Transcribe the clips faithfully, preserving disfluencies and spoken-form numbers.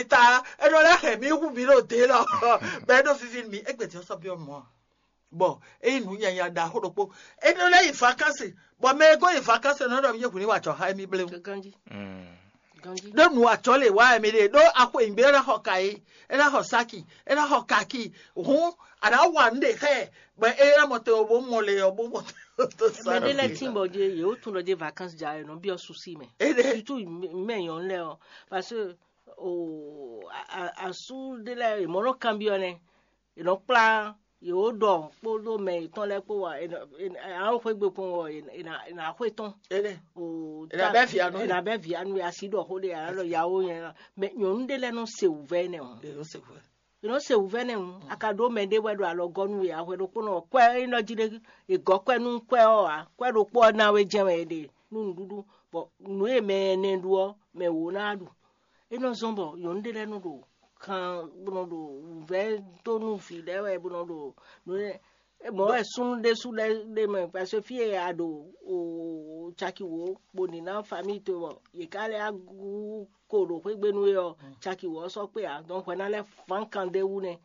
ta, é nɔ lɛ́ hɛn mì hu mì ɖo dě lɔ, bɔ é nɔ víví nú mì, égbé din ɔ́ sɔ́ byɔ́ mɔ̌ ǎ. Bɔ é nyí nǔ nyanya ɖaxó ɖokpó. É nɔ lɛ́ yi vakansi, bɔ mɛ e gɔ́ yi vakansi nɔ ɖɔ mì yé hu ní wa jɔ xá émí bléwu. Ganjí, ganjí. Ɖó nǔ ajɔ lè wá émí ɖe, ɖó axwe nyǐgbe é ná xɔ kayi, é ná xɔ saki, é ná xɔ kaki. Hǔn a nǎ wa nǔ ɖe xá ɛ, bɔ é ná mɔ te ɔ bó mɔ le ɔ bó mɔ te ɔ tó sa. Mɛ ɖé lɛ́ɛ tín bɔ dé yě wó tún ɖɔ dé vacances ja è nɔ byɔ́ susi mɛ. Éɖe. Surtout mɛ nyɔ̌nu lɛ́ɛ ɔ, parce que o a- a- asú ɖé lɛ́ɛ è mɔ nɔ kanbyɔ́ nɛ́, è nɔ kplá yě wó ɖɔ kpódó mɛ yětɔn lɛ́ɛ kpó wá, è nɔ- è nɔ- alo xwé gbe kpɔn wɔ è nɔ- è nɔ- è nɔ xwé tɔn. Éɖe. O È nɔ bɛ́ vǐ anu. È nɔ bɛ́ vǐ anu asi ɖɔ xó ɖé alo yawo nyɛ. Mɛ nyɔ̌nu ɖé lɛ́ɛ nɔ se wǔvɛ́ nɛ́ o. È nɔ se wǔvɛ́. È nɔ se wǔvɛ́ nɛ́ o. A ka ɖó mɛ ɖé wɛ ɖo alɔ gɔ́ nú we a hwɛ ɖokpónɔ ɔ́, kwɛ́ é nɔ jí ɖé è gɔ́ kwɛ́ nú kwɛ́ ɔ́ ǎ, kwɛ́ ɖokpó ɔ́ ná we jɛ́n wɛ è ɖe nú nǔɖuɖu, bɔ nǔ e mɛ ɛnɛ ɖu ɔ́, mɛ wǒ ná ɖu. É nɔ zɔ́n bɔ nyɔ̌nu ɖé lɛ́ɛ nɔ ɖo kan bó nɔ ɖo wǔvɛ́ dó nú vǐ lɛ́ɛ wɛ bó nɔ ɖo nǔ lɛ́ɛ. Mɔ̌ wɛ súnnu ɖésú lɛ́ɛ ɖe mɛ, parce que fí e a ɖo o caki wǒ bó ní ná famille towe bɔ yě ká lɛ́ á gú ko ɖo xwégbénu é ɔ́, caki wǒ ɔ́ sɔ́ kpé ǎ, donc hwɛ ná lɛ́ fán kan ɖé wú nɛ́.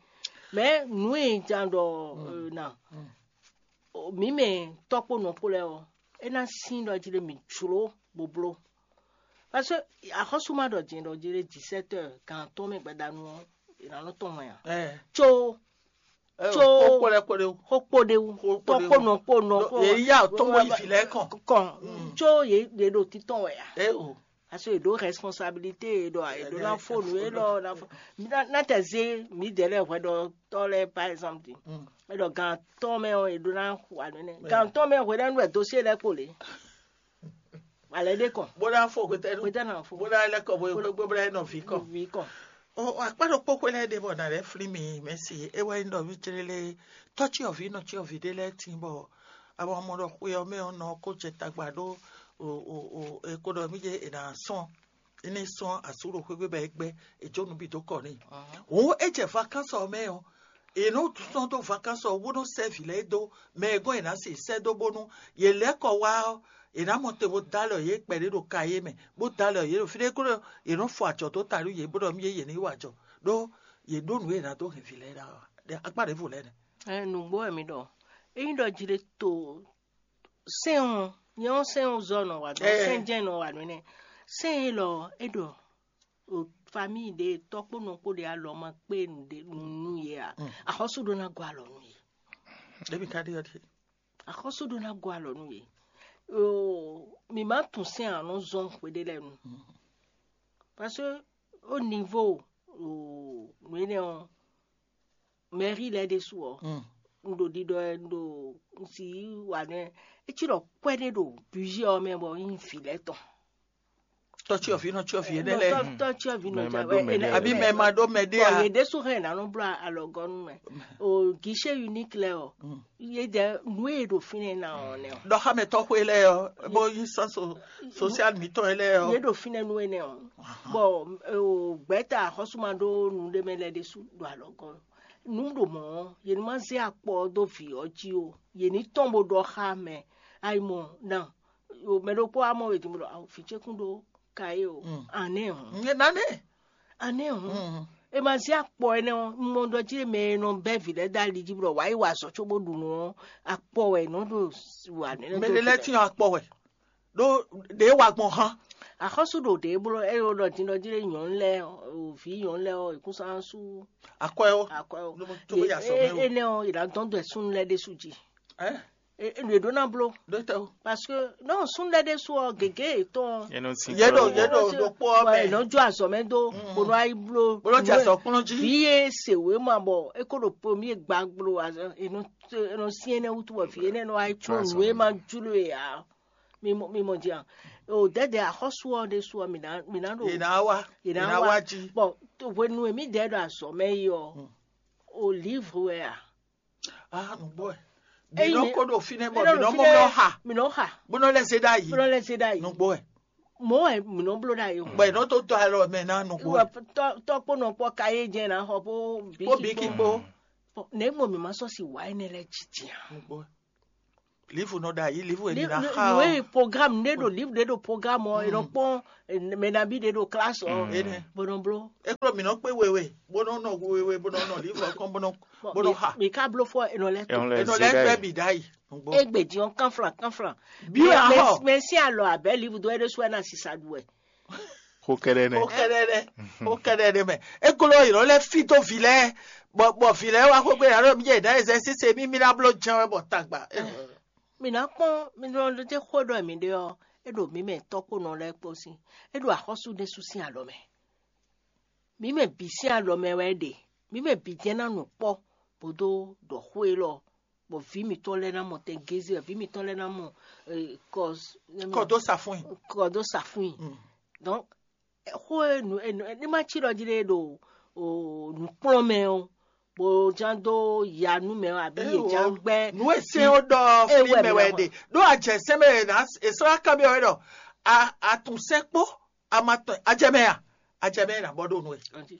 Mɛ̌ nǔ e jan ɖɔ na mǐ mɛ tɔ́ kpó nɔ kpó lɛ́ɛ ɔ́, é ná sín ɖɔ jí ɖé mǐ jló bó bló. Parce que axɔ́sú ma ɖɔ jɛ̌n ɖɔ jí ɖé dix-sept heures gan atɔ́ɔ́n mɛ gbadanu ɔ́, è nǎ nɔ tɔn hwɛn ǎ. Có có kpó lɛ́ kpó ɖé wú. Xó kpó ɖé wú. Xó kpó tɔ́ ɖé kpó wú. Nɔ kpó nɔ kpó. Yě yí atɔ́n wɔ yi vǐ lɛ́ɛ kɔn. Kɔn. Có yě yě ɖo títɔn wɛ ǎ. É o. Parce que yě ɖó responsabilité, yě ɖɔ yě ɖó ná fó nǔ, yě ɖɔ ná fó. Ná tɛ zé mǐdɛɛ lɛ́ɛ hwɛɖɔtɔ́ lɛ́ɛ par exemple. É ɖɔ gan atɔ́ɔ́n mɛ ɔ́, yě ɖó ná hu anǔ nɛ́. Gan atɔ́ɔ́n mɛ hwɛɖɔ́ nú wɛ dosyé lɛ́ɛ kpo lě. Alɛ ɖé kɔn. Bó ná fo hwetɛ́nu. Hwetɛ́nu ná fo. Bó ná lɛ́ kɔ bó bó bó bó ná nɔ vǐ kɔn. Vǐ kɔn. Ɔ akpá ɖokpó xwé lɛ́ɛ ɖe bɔ nǎ lɛ́ flín mi mɛ̌si é wɛ nyí ɖɔ mí clé lé tɔ́cyɔvǐ nɔcyɔvǐ ɖé lɛ́ɛ tín bɔ a ma mɔ ɖɔ xwe ɔ́ mɛ ɔ́ nɔ ko jɛ tagba ɖó o o o e ko ɖɔ mí jɛ è nǎ sɔn é ní sɔn asú ɖo xwégbé bɔ é gbɛ́ è jó nǔ bǐ dó kɔ n'i. Hǔn é jɛ vakánsɔ ɔ́ mɛ ɔ́, è nɔ sɔ́ dó vakánsɔ ɔ́ bó nɔ́ sɛ́ vǐ lɛ́ɛ dó mɛ e gɔ́n è nǎ sixú sɛ́ dó bónú yě lɛ́ kɔ wá ɔ́, è nǎ mɔ te bó dó alɔ yě kpɛɖé ɖo ka yé mɛ, bó dó alɔ yě ɖo fí ɖé gúdo, yě nɔ́ fɔ ajɔ̌ dó ta nú yě bó ɖɔ mí yé yě ní wa ajɔ, ɖó yě ɖó nǔ e è nǎ dó hɛn vǐ lɛ́ɛ ɖa ɔ́ ǎ. Akpá ɖěvo lɛ́ɛ nɛ́. Ɛ nǔgbó wɛ mi ɖɔ. Ényí ɖɔ jí ɖé to sɛ́n ɔ́, nyɛ ɔ́ sɛ́n ɔ́ zɔ nɔ wa nɔ Ɛ. Sɛ́n jɛ́n nɔ wa nɔ nɛ́. Sɛ́n élɔ́ é ɖɔ o famíyi ɖé tɔ́ kpó nɔ kpó ɖé alɔ ma kpé nǔɖé nú yě ǎ. Axɔ́sú ɖó ná gɔ́ alɔ nú yě. Ɖěbǔ ka ɖe ɔ́ ɖe. Axɔ́sú ɖó ná gɔ́ alɔ nú yě. Oo, mǐ má tunwun sɛ́n ǎ nɔ zɔ́n hweɖé lɛ́ɛ nu. Parce que au niveau oo nǔ énɛ́ ɔ́, mɛ̌ri lɛ́ɛ ɖésú ɔ́, un ɖo ɖiɖɔ ɛ un ɖo un si yí wa nú ɛ. É cí ɖɔ kwɛ́ ɖé ɖo bǔzí ɔ́ mɛ bɔ é nyí vǐ lɛ́ɛ tɔn. Tɔ́cyɔvǐ nɔ cyɔvǐ énɛ́ lɛ́ɛ. Tɔ́ cyɔvǐ nɔ Mɛ ma cyɔvǐ ɖó mɛ énɛ́ lɛ́ɛ. Àbí mɛ ma ɖó mɛ ɖé Bɔ a? Yě ɖésú hɛn nǎ nɔ bló alɔgɔ́ nú mɛ. O guichet unique lɛ́ɛ ɔ, yě jɛ nǔ e ɖo fínɛ́ ná ɔ́ nɛ́ ɔ́. Ɖɔ xámɛtɔ́ xwé lɛ́ɛ ɔ́, bó yí sán so social mǐtɔn lɛ́ɛ Yě ɔ́. Ɖo fínɛ́ nú énɛ́ ɔ́. Bɔ o gbɛ̌ta axɔ́sú ma ɖó nǔɖé mɛ lɛ́ɛ ɖésú ɖo alɔgɔ́. Nǔ ɖo mɔ̌ ɔ́, yě ní ma zé akpɔ ɔ́ dó vǐ ɔ́ jí o. Yě ní tɔ́n bó ɖɔ xá mɛ. Ayi mɔ ná. Mɛ ɖokpó wá mɔ wě din bó ɖɔ awu vǐ ce kún ɖó kayé o. Anɛ́ hɔn. Nane. Anɛ́ hɔn. E ma zé akpɔ énɛ́ ɔ́, un mɔ ɖɔ jí mɛ e nɔ bɛ́ vǐ lɛ́ɛ dó ali jí bó ɖɔ wǎ yi wa azɔ̌ cóbó ɖu nǔ ɔ́, akpɔ wɛ è nɔ ɖo wa nɛ́. Mɛ ɖé lɛ́ɛ tín akpɔ wɛ. Ɖó ɖě wa gbɔn hán. Axɔ́sú ɖo ɖě bló é ɖo ɖɔ din ɖɔ jí ɖé nyɔ̌nu lɛ́ɛ o vǐ nyɔ̌nu lɛ́ɛ ɔ́, è kún sán sú Akwɛ ó. Akwɛ ó. Ló mɔ tó bó yà sɔ mɛ ó. Énɛ́ ɔ́, è nǎ dɔn dó ɛ súnnu lɛ́ɛ ɖésú jí. Ɛ? È nǔ e ɖó ná bló. Ɖó tɛ ó. Parce que non súnnu lɛ́ɛ ɖésú ɔ́ gěgé yětɔn. Yɛ nɔ sin Yɛ ɖo kɔ. Yɛ ɖo ɖokpó ɔ́ Bɔ mɛ. È nɔ jó azɔ̌ mɛ dó bó nɔ yi bló. Bó nɔ jɛ azɔ̌ kplɔ́n jí. Vǐ e se wěma bɔ é kó ɖo pomi e gba gblo azɔ̌ è nɔ è nɔ syɛ́n énɛ́ wútu bɔ vǐ énɛ́ nɔ wá yi Jó cló azɔ̌ nǔ e mɛ. Ma jló e ǎ. Mi mɔ mi mɔ jí a. O dɛdɛ axɔ́sú ɔ́ ɖésú ɔ́ mi ná mi ná ɖo. Yě ná wá. Yě ná wá jí. Bɔn hwenu e mǐ dɛɛ ɖo azɔ̌ mɛ yi ɔ́, o livre wɛ a? Ah, nǔgbó ɛ. Bǐ Eyi nɔ mi- kó ɖo fínɛ́ bɔ Mí nɔ bǐ nɔ ɖo mɔ fínɛ́, nɔ xa. Mí nɔ xa. Bó nɔ lɛ́ zé ɖ'ayǐ. Bó nɔ lɛ́ zé ɖ'ayǐ. Nǔgbó ɛ. Mɔ̌ wɛ mǐ nɔ bló ɖ'ayǐ o. Bɔ è nɔ tó dó alɔ mɛ ná nǔgbó ɛ. Wɔ tɔ tɔ kpó nɔ kpɔ ka yé jɛ ná xɔ bó Kpó bíkí bíkí kpó. Kpó. Nɛ̌ gbɔn mǐ ma sɔ́ si wǎ énɛ́ lɛ́ɛ jijɛ a? Nǔgbó ɛ. Livu nɔ ɖo ayi, livu e mi ná xa ɔ. Nue programme ɖe ɖo livu ɖe ɖo programme ɔ, e nɔ kpɔn mɛ nabí ɖe ɖo classe ɔ, bó nɔ bló. E kplɔ mi nɔ kpé wewe, bó nɔ nɔ wewe, bó nɔ nɔ livu ɔ kɔn, bó nɔ bó nɔ xa. Mi ka bló fɔ e nɔ lɛ to. E nɔ lɛ gbɛ bi ɖ'ayi. Egbe din ɔ kanflan kanflan. Bi wɛ axɔ. Mɛ sin alɔ abɛ livu do ɛɖe su ɛna sisa ɖu wɛ. Xó kɛɖɛ nɛ. Xó kɛɖɛ nɛ. Xó kɛɖɛ nɛ mɛ. E glɔ́ yě nɔ lɛ́ fí dó vǐ lɛ́ɛ, bɔ bɔ vǐ lɛ́ɛ wá xwé gbé yǎ ɖɔ mí jɛ ɖǎ ɛzɛ síse mí mí ná bló jɛ́n wɛ bɔ tagba. Mi ná kpɔ́n mi nɔ ɖe xó ɖɔ mi ɖe ɔ́, é ɖo mǐ mɛ tɔ́kpónɔ lɛ́ɛ kpó sín, é ɖo axɔ́sú ɖésú sín alɔ mɛ. Mǐ mɛ bǐ sín alɔ mɛ wɛ é ɖe, mǐ mɛ bǐ jɛ́n ná nɔ kpɔ́ bó dó ɖɔ xó élɔ́, bɔ vǐ mǐtɔn lɛ́ɛ ná mɔ tɛngézé, vǐ mǐtɔn lɛ́ɛ ná mɔ kɔdó safún kɔdó safún. Donc xó e nǔ e nǔ e ní ma cí ɖɔ jí ɖe ɖo nǔkplɔ́nmɛ ɔ́, bó ján dó ya nú mɛ ɔ́, abǐ yě ján gbɛ́ nǔ e sɛ́n ó ɖɔ fí mɛ wɛ ɖe ɖó ajɛ sɛ́n mɛ è sɔ́ ná kanbyɔ́ wɛ ɖɔ a tun sɛ́n kpó a ma tɔn a jɛ mɛ a a jɛ mɛ ná bɔ ɖo nú ɛ.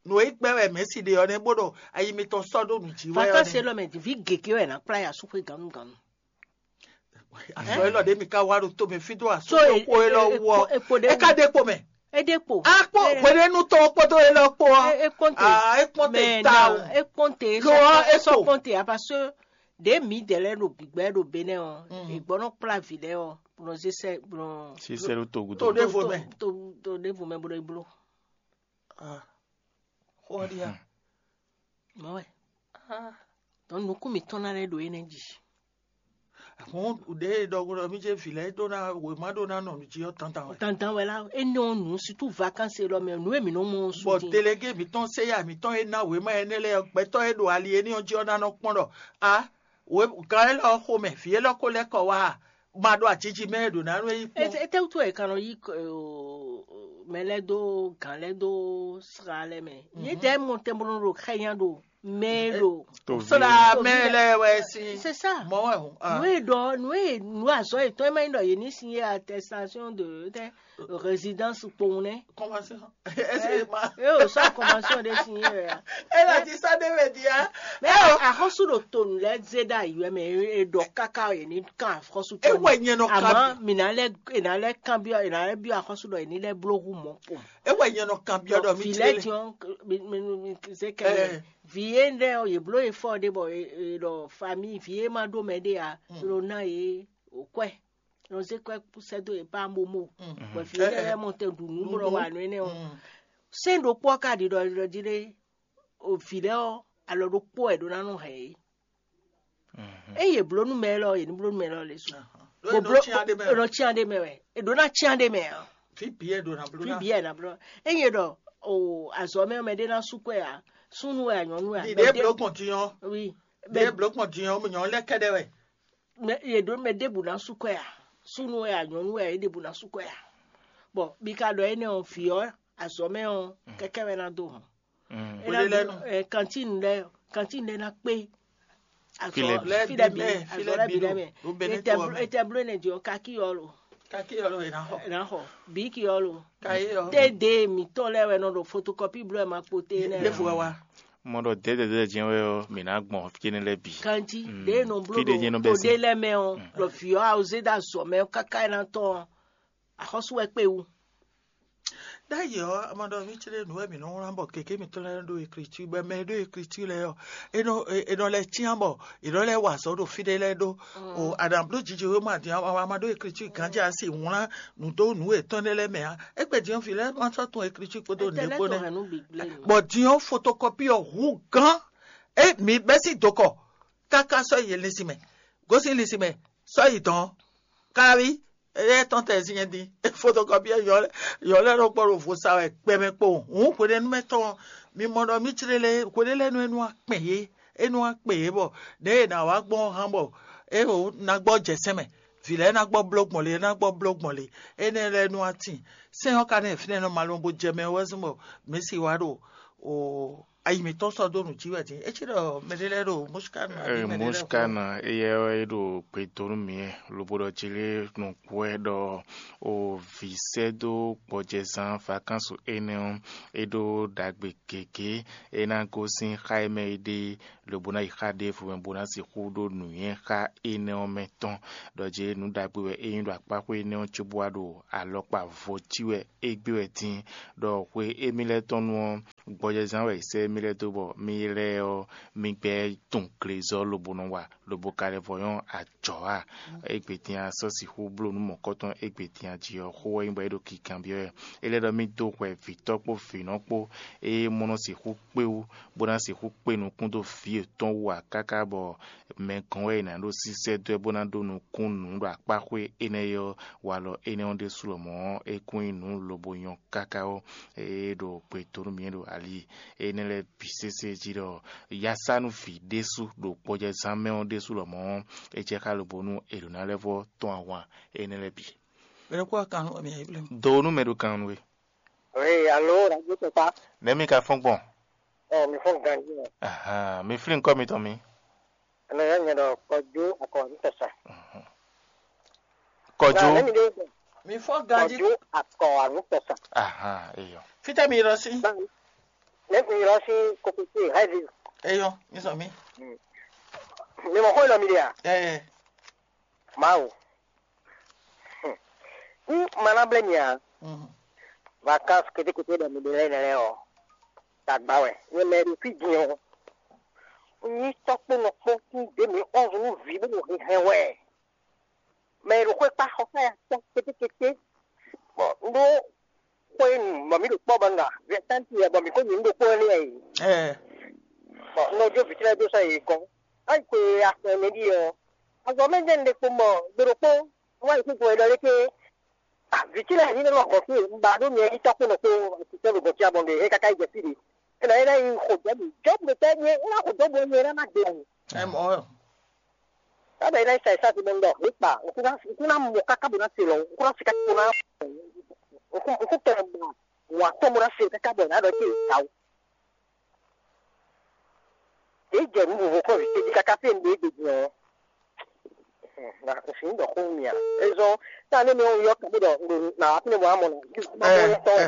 Nǔ e gbɛ́ wɛ mɛ̌si ɖe ɔ́ nɛ́ bó ɖɔ ayi mitɔn sɔ́ ɖó nǔ jí wɛ ɔ́. Vakansi élɔ́ mɛ vǐ gěgé wɛ è nǎ kplá yi asúxwé gannú gannú. Azɔ élɔ́ ɖě mi ka wá ɖo tómɛ fí dó asúxwé xó élɔ́ wú ɔ́, é ka ɖe kpo mɛ. É ɖe kpo. A kpó hwenɛ́nu tɔn kpódó élɔ́ kpó ɔ́. É kpɔ́nte. A é kpɔ́nte ta o. É kpɔ́nte. Lo ɔ́ é kpɔ́nte a parce que ɖě mǐdɛɛ lɛ́ɛ ɖo gbǐgbɛ́ ɖo Benɛ́ ɔ́, è gbɔ́ nɔ kplá vǐ lɛ́ɛ ɔ́, bó nɔ zé sɛ́ bó nɔ. Sísɛ ɖó togu tó. Ɖěvo mɛ. Tó ɖěvo mɛ bó nɔ yi bló. Xó ɔ́ ɖíe a? Mɔ̌ wɛ. Dɔn nukún mǐtɔn ná lɛ́ ɖo énɛ́ jí. Hǔn ɖěe ɖɔhun ɖɔ mí jɛ vǐ lɛ́ɛ ɖó ná wěma ɖó ná nɔ nǔ jí ɔ́ dandan wɛ. Dandan wɛ lá, énɛ́ ɔ́ nǔ situ vakansi élɔ́ mɛ nǔ e mǐ nɔ mɔ ɔ́ su Bɔ din. Delege mǐtɔn Seya mǐtɔn e ná wěma énɛ́ lɛ́ɛ ɔ́, gbɛtɔ́ e ɖo ali éní ɔ́ jí ɔ́ ná nɔ kpɔ́n ɖɔ a wě gán élɔ́ ɔ́ xomɛ vǐ élɔ́ ko lɛ́ kɔ wá a? Ma ɖo ajiji mɛ e ɖo ná nú é yí kpɔ́n. Étɛ́wútu wɛ è ka nɔ yí mɛ lɛ́ɛ dó gǎn lɛ́ɛ dó sra lɛ́ɛ mɛ? Yě dɛ́ mɔ tɛnblɔ́n ɖo xɛnya ɖo mɛ e ɖo. Sɔ́ ɖo amɛ lɛ́ɛ wɛ sín. C'est ça. Mɔ wɛ hùn. Nǔ e ɖɔ nǔ e nǔ azɔ̌ yětɔn e ma nyí ɖɔ yě ní signé attestation de tɛ résidence kpowun nɛ́. Convention. Est-ce que ma. E o sɔ́ convention ɖé signé wɛ ya. E la ti sɔ́ ɖé mɛ dia. Mɛ axɔ́sú ɖo to nǔ lɛ́ɛ zé ɖo ayi wɛ mɛ e ɖɔ káká yě ní kan axɔ́sú tɔn. E wɛ nyɛ nɔ kan. Àmọ́ mǐ ná lɛ́ è ná lɛ́ kan byɔ́ è ná lɛ́ byɔ́ axɔ́sú ɖɔ è ní lɛ́ bló hú mɔ̌ kpɔn. E wɛ nyɛ nɔ kan byɔ́ ɖɔ mí ti lé. Vǐ lɛ́ diɔn mi mi mi zé kɛlɛ. Vǐ e ɖɛ ɔ yě bló e fɔ ɖé bɔ è ɖɔ famille vǐ e ma ɖó mɛ ɖé a ɖo ná yě kwɛ. Nɔ zé kwɛ sɛ́ dó yě pa momo. Bɔ vǐ e lɛ́ mɔ tɛn ɖu nǔ bɔ wa nǔ énɛ́ ɔ́. Sɛ́n ɖokpó ɔ́ ka ɖi ɖɔ ɖɔ jí ɖé o vǐ lɛ́ɛ ɔ́ alɔ ɖokpó wɛ ɖó ná nɔ hɛn yě. Ényí yě bló nú mɛ élɔ́ yě ní bló nú mɛ élɔ́ lě su. Bó bló nɔ cyán ɖé mɛ wɛ. È ɖǒ ná cyán ɖé mɛ ǎ. Fí bǐ ɛ ɖo ná bló. Fí bǐ ɛ ná bló. Ényí è ɖɔ o azɔ̌ mɛ ɔ́ mɛ ɖé ná sú kwɛ ǎ. Súnnu wɛ ǎ nyɔ̌nu wɛ ǎ. Ɖě bló gbɔn din ɔ́. Wi. Ɖě bló gbɔn din ɔ́ nyɔ̌nu lɛ́ kɛ́ɖɛ́ wɛ. Mɛ yě ɖó mɛ ɖěbǔ ná sú kwɛ ǎ. Súnnu wɛ ǎ nyɔ̌nu wɛ é ɖěbǔ ná sú kwɛ ǎ. Bɔ mi ka ɖɔ énɛ́ ɔ́ vǐ ɔ́ azɔ̌ mɛ ɔ́ kɛ́kɛ́ wɛ ná dó hɔn. Kantine lɛ kantine lɛ ná kpé. Azɔ filɛ bi lɛ mɛ azɔ lɛ bi lɛ mɛ. Etɛ blo ne jɔ kaki yɔ lo. Kaki yɔ lo ena xɔ. Ena xɔ biki yɔ lo. Kayi yɔ. Te de mi tɔ lɛ wɛ nɔ ɖo photocopie blo ma kpo te nɛ. Lefu wa wa. Mɔ ɖɔ dɛdɛdɛ jɛn wɛ ɔ mi na gbɔn fi ne lɛ bi. Kanji de nɔ blo ɖo to de lɛ mɛ ɔ ɖo fi ɔ awo zeda zɔ mɛ kaka ena tɔ. Axɔsu wɛ kpe wu. D'ailleurs, ama ɖɔ mí tlé nǔ wɛ mǐ nɔ wlán bɔ keke mǐtɔn lɛ́ɛ ɖo ekriti bɔ mɛ e ɖo ekriti lɛ́ɛ ɔ́, è nɔ è nɔ lɛ́ cyán bɔ è nɔ lɛ́ wa azɔ̌ ɖo fí ɖé lɛ́ɛ ɖó. O a nǎ bló jiji wéma din a ma ɖó ekriti gǎnjɛ a si wlán nǔ dó nǔ yětɔn ɖé lɛ́ɛ mɛ ǎ. Égbé din ɔ́, vǐ lɛ́ɛ ma sɔ́ tunwun ekriti kpódó nǔɖé kpó nɛ́. Bɔ din ɔ́, fotokɔpi ɔ́ hú gán. É mǐ bɛ́ sín dokɔ káká sɔ́ yi linsin mɛ, gosín linsin mɛ, sɔ́ yi dɔ̌n. Káwí, éyɛ́ tɔn tɛ sin nyɛ din. Fotokɔpi ɔ́, yɔ lɛ́ɛ nɔ kpɔ́ ɖo vo sa wɛ gbɛmɛ kpo. Hǔn hwenɛ́nu mɛ tɔn, mi mɔ ɖɔ mí tlé lé hwenɛ́ lɛ́ɛ nú é nú akpɛn yé, é nú akpɛn yé bɔ ɖěe è nǎ wá gbɔn hán bɔ é ná gbɔ jɛ sɛn mɛ. Vǐ lɛ́ɛ ná gbɔ bló gbɔn lě, é ná gbɔ bló gbɔn lě. Énɛ́ lɛ́ɛ nú atin. Sɛn ɔ́ ka nɔ fínɛ́ nɔ malɔn bó jɛ mɛ wɛ zɔn bɔ mǐ si wá ɖo o Ayi mǐtɔn sɔ́ dó nǔ jí wɛ din. É cí ɖɔ mɛɖé lɛ́ɛ ɖo Mɔsika nɔ abǐ mɛɖé lɛ́ɛ xo. Mɔsika nɔ, éyɛ́ wɛ é ɖo gbe dó nú mǐ wɛ, lobo ɖɔ jí lé nukún wɛ ɖɔ o vǐ sɛ́ dó gbɔjɛzán vakánsu énɛ́ ɔ́, é ɖó ɖagbe gěgé. É ná gosín xá e mɛ é ɖe, lobo ná yi xá ɖěvo mɛ bó ná sixú ɖó nǔnywɛ́ xá énɛ́ ɔ́ mɛ tɔn. Ɖɔ jí nǔ ɖagbe wɛ é nyí ɖo akpáxwé énɛ́ ɔ́ cóbó wá ɖo alɔkpa vo cí wɛ égbé wɛ din, ɖɔ xwe émí lɛ́ɛ tɔn nu ɔ́, gbɔjɛzán wɛ è sɛ́ émí lɛ́ɛ dó bɔ mí lɛ́ɛ ɔ́, mí gbɛ́ tunwun glezɔ́ lobo nɔ wa, lobo ka lɛ́ vɔ nyɔ́ ajɔ̌ a? Égbé din a sɔ́ sixú bló nǔ mɔ̌kɔtɔn égbé din a jí ɔ́, xó wɛ nyí bɔ é ɖo kikanbyɔ́ wɛ. É lɛ́ ɖɔ mí dó hwɛ vǐtɔ́ kpó vǐnɔ kpó, ée mɔ nɔ sixú kpé wú, bó ná sixú kpé nukún dó vǐ yětɔn wú ǎ káká bɔ mɛ gɔ́n wɛ è nǎ ɖó sísɛ́ dó ɛ bó ná ɖó nukún nǔ ɖo akpáxwé énɛ́ é ɔ́, walɔ énɛ́ ɔ́ ɖésú lɔmɔ̌ ɔ́, é kún nyí nǔ lobo nyɔ́ káká ɔ́, é ɖo gbe dó nú mì ɖo ali énɛ́ lɛ́ɛ bǐ sésé jí ɖɔ yá sá nú vǐ ɖésú ɖo gbɔjɛzán mɛ ɔ́ ɖésú lɔmɔ̌ ɔ́, é jɛ xá lobo nú è ɖǒ ná lɛ́ vɔ́ tɔ́n ahwan énɛ́ lɛ́ɛ bǐ. Mɛ ɖokpó wa kan nú mì ayǐ blém. Do nú mɛ ɖo kan nú we. Ee, alo, radio papa. Nɛ̌ mi ka fɔ́n gbɔn? Ɔ, mi fɔ́n ganjí ɔ. Ahan, mi flín kɔ́ mitɔn mi. Ɛnɛ yɛ nyɛ ɖɔ kɔjú akɔ anu tɔsa. Kɔjú. Nɛ mi ɖe gbɔ. Mi fɔ ganji. Kɔjú akɔ anu tɔsa. Ahan, eyɔ. Fitɛ mi yɔrɔ si. Nɛ mi yɔrɔ si kokote haivi. Eyɔ, mi sɔ mi. Mi mɔ xɔ yɔ mi ɖe a? Ɛɛ. Mawu. N ma na blé mi a. Mhm. Vacances kétékété ɖɔ mi ɖe lɛ́ nɛlɛ ɔ. Tagba wɛ. Nyɛ mɛ ɖo fí din ɔ. N yí tɔkpó nɔkpó kún dé mi onze nú vǐ bó ɖo hɛhɛ wɛ. Mɛ e ɖo xwé kpá xɔ ká ya tɔ́ kétékété. Bɔ un ɖó xwé nu bɔ mǐ ɖo kpɔ́ bɔ un ɖo vɛ̌tánti wɛ bɔ mǐ ko nyi nǔ ɖokpó énɛ́ wɛ e. Ɛɛ. Bɔ un nɔ jó vǐ ce lɛ́ɛ dó sɔ́ yě gɔ́n. Á yi xwe axɔ ɛnɛ ɖíe ɔ́, azɔ̌ mɛ jɛ́n un ɖe kpo mɔ gbe ɖokpó, un wá yi xwé gbɔn é ɖɔ léké. Vǐ ce lɛ́ɛ ní nɔ gɔ̌n fí un ba ɖó nyɛ yi tɔ́ kpó nɔ kpó títɛ́ ɖo gɔ̌n fí abɔ̌ ɖe é káká yi jɛ fí ɖě. É nɔ é ná yi xo jɔ̌ bǐ jɔ̌ bǐ ɖo tɛ́ nyɛ é ná xo dó bɔ nyɛ é ná ná gbe wǔ. Ɛ mɔ ɔ́. Kábɛ é ná yi sa yi sá ti mɔ un ɖɔ hwě kpa un kún ná un kún ná mɔ káká bó ná se lɔ un kún ná se káká bó ná un kún un kún tɛnmɛ ba wǎn tɔn bó ná se káká bɔ è nǎ ɖɔ é ké yi ta o. Yě jɛ nǔ vovo kɔn vǐ ce jí káká fí e un ɖe é gbe din ɔ́. Na un sin ɖɔ xó nú mì a? É zɔ́n tá ne mɛ ɔ́ yɔ kɛ́ bó ɖɔ un ɖo nǎ wá fínɛ́ bɔ wá mɔ nǎ. Má mɔ ɔ́ tɔn wɛ.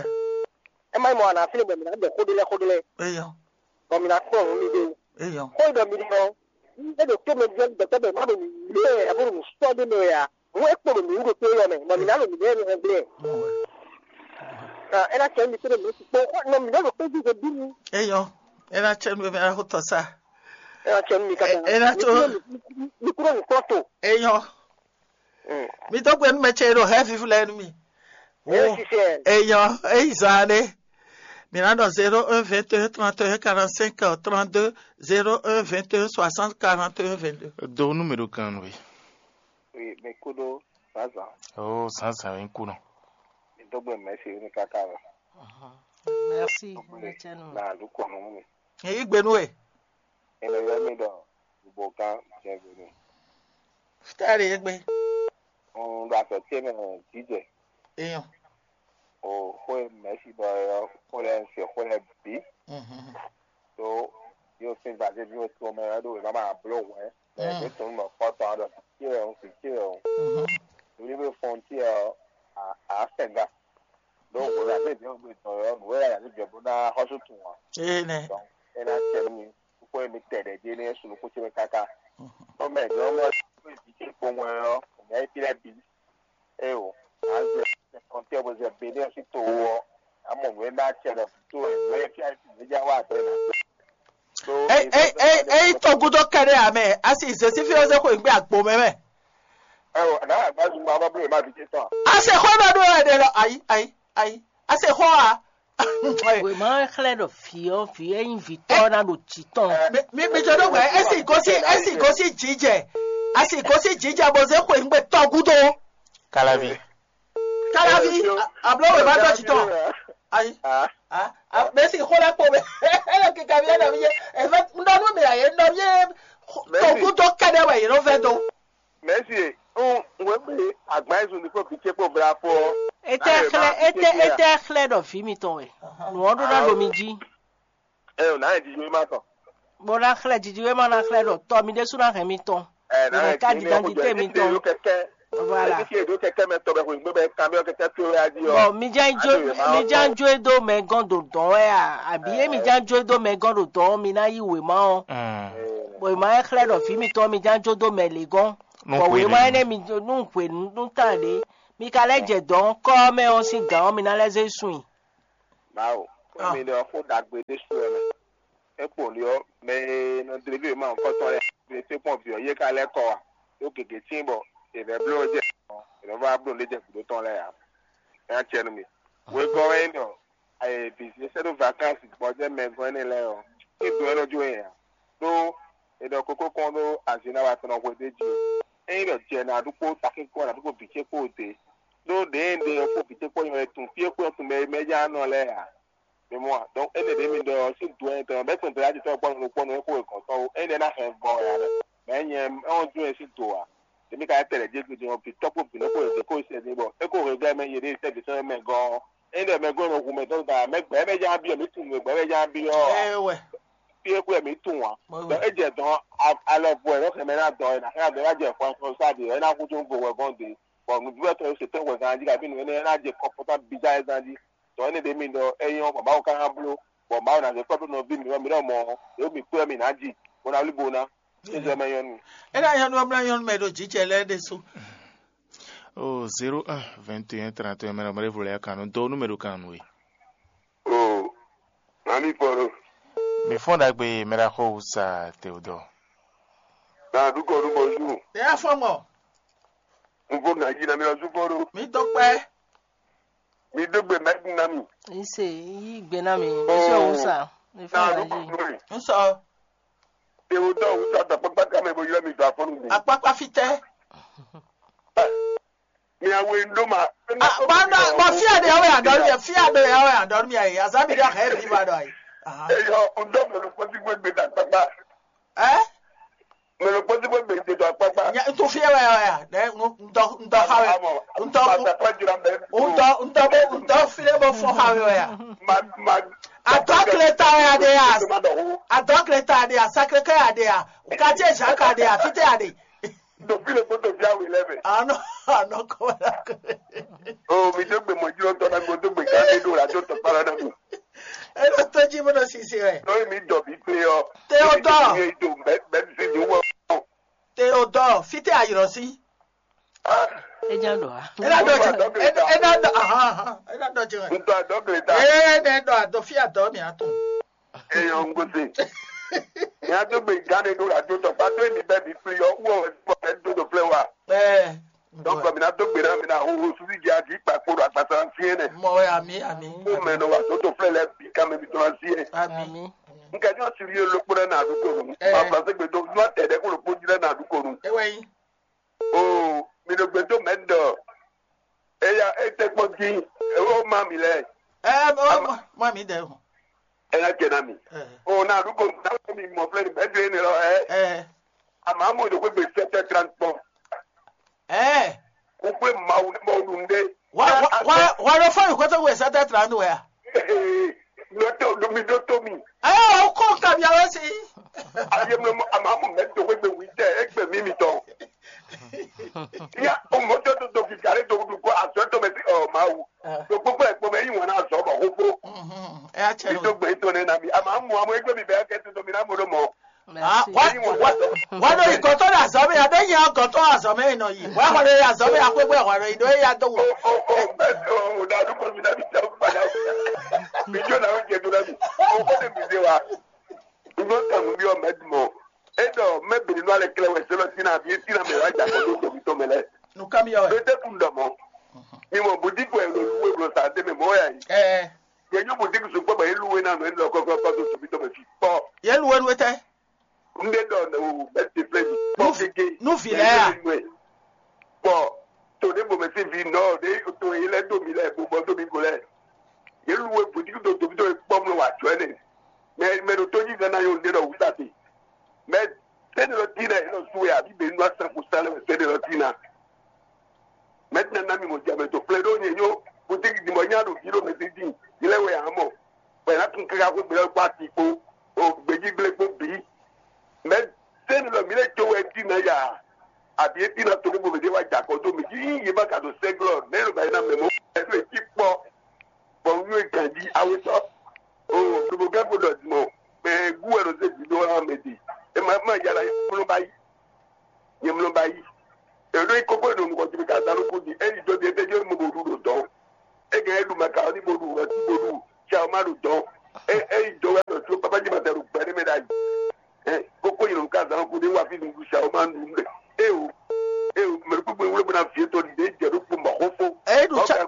É má nyí mɔ wá nǎ fínɛ́ bɔ mǐ ná ɖɔ xó ɖé lɛ́ɛ xó ɖé lɛ́ɛ. Eyɔ, Bɔ mǐ ná kplɔ́n nǔ mì ɖó. Eyɔ. Xó e ɖɔ mǐ ɖɔ ɔ́, é ɖo tó mɛ ví ɔ́ gbɛtɔ́ bɔ má ɖo nǔ lé ɛ bó ɖo nǔ sɔ́ ɖé mɛ wɛ a? Hǔn é kpo ɖo mǐ wú ɖo tó élɔ́ mɛ, bɔ mǐ ná ɖo nǔɖé ɛnɛ hɛn gblé. Ɔ, é ná cɛ mì tóɖo mǐ sukpó, xɔ nɔ mǐ ɖɔ ɖo kpéjú ɖe bí mi. Eyɔ, é ná cɛ nú mi axótɔ sá. É ná cɛ nú mi káká. É ná tó. Mi kúrò nǔkplɔ́n to. Eyɔ. Mm. Mi dó gbe nú mɛ ce e ɖo hɛ́ fífú lɛ́ɛ nú mi. É Wo. Sisɛ. Eyɔ, eyi zɔ aɖe. Mi ná ɖɔ zéro un vingt et un trente et un quarante-cinq trente-deux, zéro un vingt et un soixante quarante et un vingt-deux. Do nú mi ɖo kan nú we. Oui, mi kú ɖó zǎnzǎn. Ó, zǎnzǎn wɛ ń kú nɔ. Mi dó gbe mɛ̌si ní káká wɛ. Merci, Dógbe Ŋlɛtsɛnu. Na lǔ kɔ nú mi. Yí gbe nú we. Ene yɔ mi ɖɔ gbogbo gán jɛ gbe mi. Fítá ɖe yé gbe. Un ɖo azɔ̌ ce mɛ jǐjɛ. Eyɔn. O xó e mɛ̌si ɖɔ é ɔ́, xó lɛ́ɛ un se xó lɛ́ɛ bǐ. Mhm. Ɖó yóò sín gbadéví ó tɔn mɛ ɔ́ ɖó wěma ma bló hwɛ̌. Mɛ Mm. ɖě tɔn nɔ kpɔ́tɔ́ ɔ́ ɖɔ vǐ ce wɛ un, vǐ ce wɛ un. Mhm. Nǔɖiɖi fɔn ce ɔ́, à á sɛn gán. Ɖó wǒ la zé jɛ gbé tɔn ɔ́, nǔ e la zé jɛ bó ná xɔ́sú tun ǎ. Ee nɛ. Donc é ná cɛ nú mi, kókó e mi tɛ ɖɛ jí énɛ́ sunu kó ce mɛ káká. Mhm. Tɔn mɛ jɔ mɔ vǐ ce kpowun ɔ́, mɛ é tlɛ bǐ. É o, a zɛ kɔntɛ bó zɛ Benin sín to wú ɔ́, a mɔ nǔ e ná cɛ ɖɔ to e nǔ e fia é já wá bɛ́ ná. Ei, ei, ei, ei, tɔgúdó kɛɖɛ amɛ, asi zesi fi ɔzɛ xo igbe agbo mɛ mɛ. Ɛ o, n'a agbazu ma ba blo ma vite tɔn. Ase xɔ na ɖo ɛɖɛ lɔ, ayi, ayi, ayi, ase xɔ a. Wema xlɛ́ ɖɔ vǐ ɔ́, vǐ ɛ nyí vǐ tɔ́ ná ɖo jǐ tɔn. Mi, mi, mi jɔ ɖo wɛ, esi gosi, esi gosi jijɛ, asi gosi jijɛ bɔ zɛ xo igbe tɔgúdó. Kalavi. Kalavi, a- ablo wema dɔ jǐ tɔn. Ayi. Ah, ah, mesi xo lɛ kpo mɛ. Ele kika mi ɛnɔ mi ye. Efe ndɔnu mi aye ndɔ mi ye. Togu dɔ kɛɖɛ wɛ yɛrɛ fɛ do. Mɛsi, n wɛ mi agba ezu ni ko bi ce kpo bla fo. Ete xlɛ, ete, ete xlɛ ɖɔ vi mi tɔn wɛ. Nua ɖo na ɖo mi ji. Ɛ o, nǎ nyɛ jiji wéma tɔn. Bó ná xlɛ́ jiji wéma ná xlɛ́ ɖɔ tɔ mi ɖésú ná hɛn mi tɔn. Ɛ nǎ Mɛ nyɛ ká jiji jijǎnjí wéma tɔn. Tɔn. Voilà. Ɛ fi e ɖó kɛkɛ mɛ tɔn bɛ xweyǐgbe bɛ kanbyɔ kɛkɛ towe wɛ a jí ɔ. Bɔn mi ján jó Aɖo yě ma mi ɔ́ ján tɔn. Jó e dó mɛ gɔ́n ɖo dɔn wɛ a? Àbí é mi ján jó e dó mɛ gɔ́n ɖo dɔn ɔ́, mi ná yí wěma ɔ́. Bɔn è ma é xlɛ́ ɖɔ vǐ mitɔn mi ján jó dó mɛ lě gɔ́n. Bɔ wěma énɛ́ mi nú hwe nú tán ɖě, mi ka lɛ́ jɛ dɔ̌n kɔ́ ɔ́ mɛ ɔ́ sín gǎn ɔ́, mi ná lɛ́ zé sun i. Mawu, xó mi ɖɔ xó ɖagbe ɖésú wɛ mɛ. É kpo ɖi ɔ́, mɛ e nɔ dlé vǐ e ma nyɔ̌kɔ́tɔn lɛ́ɛ, mɛ e tɛ́nkpɔ́n vǐ ɔ́ yě ka lɛ́ kɔ wá, ɖó gěgé tíin bɔ è vɛ́ bló jɛ è nɔ vá bló ɖě jɛ gǔdo tɔn lɛ́ɛ ǎ. É ná cɛ nú mì. Wegɔ́ wɛ nyí ɖɔ vǐ e sɛ́ dó vakánsi gbɔjɛ́ mɛ gɔ́n énɛ́ lɛ́ɛ ɔ́, é dó ɛ́ nɔ jó nya ǎ. Ɖó è ɖɔ kókó kɔn ɖó azǐnnáwa tɔn nɔ hwe ɖ'é jí. Ényí ɖɔ jɛ nǎ ɖu kpó takín kpó nǎ ɖu kpó vǐ ce kpó ɖě, ɖó ɖěe ɖe ɔ́ kpó vǐ ce kpó nyɔ́ tun fí e kpó tɔn mɛ mɛ ján nɔ lɛ́ɛ ǎ. Mi mɔ a? Donc énɛ́ ɖě mi ɖɔ ɔ́ sín do ɛnɛ tɔn bɛ́ kpɛn dɔ̌yá jitɔ́ kpɔ́n nukpɔ́ nú é kó wegɔ̌n tɔn ó. Énɛ́ ná hɛn vɔ wɛ ǎ ɖɔ mɛ̌ nyɛ ɔ́ jó ɛ sín do ǎ. Ɖě mi ka lɛ́ tɛ lɛ̌ jégbe din ɔ́, vǐ tɔ́ kpó vǐ nɔ kpó yě kó sɛ din bɔ é kó hwegɔ́ mɛ yě ɖe sɛ́ vǐ tɔn mɛ gɔ́n ɔ́. Ényí ɖɔ mɛ gɔ́n nɔ hu mɛ tɔn da mɛ gbɛ̌ mɛ ján byɔ́ mǐ tunwun mɛ gbɛ̌ mɛ ján byɔ́ ɔ́. Ɛ wɛ. Fí e xwé mǐ tunwun ǎ. Mɔ Ɖɔ wɛ. É jɛ dɔn alɔ bɔ ɛ nɔ xɛ mɛ ná dɔn ɛ ná xɛ ná dɔn ɛ ná jɛ fɔn fɔn sá ɖe ɛ ná hu tún go wɛ gɔ́n de. Bɔ nǔɖuɖu tɔn e se tɛn hwɛ ganjí kabi nǔ énɛ́ ná jɛ kɔkɔtán bíjá ɛ ganjí. Tɔ énɛ́ ɖě mi ɖɔ é nyɔ́ bɔ Mawu ka ná bló, bɔ Mawu ná zé kpɔ́ ɖó nɔví mǐ wɛ mǐ ɖɔ mɔ̌, ɖě mi kpé wɛ mǐ ná ji, bó ná wlí bo ná. Ézɔ mɛ nyɔ́nu. É ná nyɔ́nu ɔ́ mlá nyɔ́nu mɛ ɖo jǐ jɛ lɛ́ɛ ɖésú. O zéro un vingt et un trente et un mɛ ɖo mɛ ɖěvo lɛ́ɛ kan nú dó nú mɛ ɖo kan nú we. O mami pɔɖo. Mi fɔ́n ɖagbe mɛ ɖaxó wusa Théodore. Na ɖukɔ ɖu bɔ zu. Ɛ afɔ mɔ. N vo na yi na mi lɔ zu pɔɖo. Mi dó kpɛ. Mi dó gbe mɛ na mi. Ise yí gbe ná mi. Ise òun sa. Mi fún Na àlàyé. Ɖukɔ ɖu mi. N sɔ. Théodore wusa dɔ kpakpaka mɛ bo yɔ mi dɔ afɔnu mi. Akpakpa fitɛ. Miawe ɖó ma. Bɔnɔ bɔ fia ɖe yawe adɔlu yɛ fia ɖe yawe adɔlu yɛ yi azami ɖe ahɛ bi ba ɖɔ yi. Eyɔ ŋdɔ mɛlɛ kpɔti gbegbe da kpakpa. Ɛ. Mɛlɛ kpɔti gbegbe de da kpakpa. Nya ŋutɔ fia wɛ ya ya ɖe ŋutɔ ŋutɔ ha wɛ ŋutɔ ŋutɔ ŋutɔ bo ŋutɔ fi ɖe bo fɔ ha wɛ ya. Ma ma. Adɔ kle ta wɛ ya ɖe ya. Adɔ kle ta ɖe ya sakre kɛ ya ɖe ya. Kati ezaka ɖe ya fite ya ɖe. Ɖo fí le kpótó fí awu lɛ mɛ. Anɔ anɔ kɔ wɛ la kɔ. O mi dó gbe mɔjúlɔ tɔ na gbɔ dó gbe ká lé ɖo la tó tɔ kpala na mi. Eɖo tó jí bó ɖo sisi wɛ. Lórí mi dɔ bí pé ɔ. Théodore. Mi do bɛ bɛ mi fi mi wɔ. Théodore fite ayɔrɔ sí. Ejan ɖɔ a. Ena dɔ jɛ ena dɔ ahan ahan ena dɔ jɛ. Ntɔ adɔ gele ta. Ee ne dɔ adɔ fi adɔ mi ato. Eyɔ ŋgose. Mía dó gbe gán ɖé ɖó la dó tɔ kpá tó emi bɛ́ mi fli ɔ́ wú ɔ́ wɛ bɛ dó ɖo flɛ wa. Ɛɛ. Donc mi ná dó gbe ná mi ná hoho susu dzi adi kpa kpo ɖo agbasa fiɛ nɛ. Mɔ wɛ ami ami. Kó mɛ nɔ wa tó tó flɛ lɛ bi ká mɛ mi tó la fiɛ. Ami. Nka nyɔ siri yɛ lókpó ɖe na àdúgbò nù. Ɛɛ. Ma flanse gbe dó nyɔ tɛ ɖe kó lókpó dzi ɖe na àdúgbò nù. Ewɛ yi. Oo, mi ɖo gbe dó mɛ ɖɔ. Eya e tɛ kpɔn dín. Ewo ma mi lɛ. Ɛɛ mɔ mɔ mi dɛ o. Ena kɛ na mi. Ɛɛ. O na ɖu ko na mi mɔ flɛ ni bɛ dre ne lɔ ɛ. Ɛɛ. Ama mo do ko gbe sɛtɛ transport. Ɛɛ. Ko gbe mawu ne mawu dun de. Wa wa wa wa lɔ fɔ yi ko to gbe sɛtɛ transport ya. Nɔ tɛ o do mi do to mi. Ɛɛ o ko ka mi awɛ si. Ayi mlɔ ama mo mɛ do ko gbe wi tɛ e gbe mi mi tɔ. Ya o mɔ tɛ to do ki gare do du ko azɔ to mɛ ti ɔ mawu. Do gbogbo ɛ kpɔ mɛ yi wɔn azɔ bɔ ko ko. Ɛ a cɛ. Mi do gbe to ne na mi ama mo amo egbe mi bɛ kɛ to mi na mo do mɔ. Wa wa wa do yi gɔtɔ na azɔ mi abe nya gɔtɔ azɔ mi nɔ yi wa wa do yi azɔ mi akpekpe wa do yi do ya do wo. O o o bɛ o da du ko mi na mi tɛ o ba da. Mi jo na o jɛ do na mi o ko ne mi se wa. N ɖo tɔnu byɔ́ mɛ dun mɔ. É ɖɔ mɛ bǐ ní nɔ alɛ klɛ́ wɛ se lɔ sín abǐ é sín amɛ wá jà kɔ ɖó tɔmítɔn mɛ lɛ́ɛ. Nukamiɔ wɛ. Pétɛ́ kun ɖɔ mɔ. Mi mɔ boutique wɛ lo lu wé blɔ sa dé mɛ mɔ wɛ ayi. Ɛɛ. Yɛ nyɔ boutique sukpɔ bɔ é lu wé na nɔ é lɔ kɔkɔ kɔ tó tɔmítɔn mɛ fi kpɔ. Yɛ lu wé nu wé tɛ. N ɖe ɖɔ o bɛ ti flɛ mi. Kpɔ kéke. Nu vi lɛ ya. Kpɔ to ɖe bo mɛ si vi nɔ ɖe to yi lɛ do mi lɛ bo bɔ do mi go lɛ. Yě lu we bǔtíkú dó doví dó kpɔ́ mlɔ wǎ jɔ ɛnɛ. Mɛ mɛ ɖo tó yí gán ná yó ɖé ɖɔ wǔ ta te. Mɛ tɛ́nɛ lɔ dínà yě nɔ sú wɛ àbí bɛ nú asán kó sán lɛ mɛ tɛ́nɛ lɔ dínà. Mɛ tɛ́nɛ ná mi mɔ jɛ mɛ tó flɛ ɖó nyɛ nyó bǔtíkú dìmɔ nyá ɖo ví ɖo mɛ sí dín. Yě lɛ wɛ ǎ mɔ. Bɔ yě ná tún káká kó gbé lɛ́ɛ kpó ati kpó, o gbějígblé kpó bǐ. Mɛ sɛ́ni lɔ mǐ lɛ́ jó wɛ jí ná ya, abǐ é jí ná to kó bo mǐ ɖé wá jɛ akɔ dó mǐ jí yí yě má ka ɖo sɛ́glɔ́ mɛ e ɖo ba yi ná mɛ mɔ̌ ɛ ɖo é jí kpɔ́, bɔ un nú é ganjí awe sɔ́. O lobo gán ko ɖɔ mɔ mɛ gú wɛ ɖo zé jǐ ɖó ɔ́ mɛ ɖi. E ma ma yára kplɔ́n ba yi. Nyɛ mlɔ ba yi. Elo yi kókó ɖo nukɔn jí mi ka zán nukún jí. Eyi dó ɖi étɛ́ jó mo bo ɖu ɖo dɔn. Égé é ɖu makaroni bo ɖu rɔti bo ɖu. Sia o ma ɖu dɔn. E eyi dó wɛ ɖo tó papa jí ma tɛ ɖo gbɛ ɖé mɛ ɖ'ayǐ. Ɛ kókó yi nɔ ka zán nukún ɖé wa fi nukún sia o ma ɖu nɛ. E o e o mɛ kpekpe wúlò bena fi etɔn ɖi ɖe jɛ ɖo kpó ma xó fó. Eyi ɖu tsa ɛ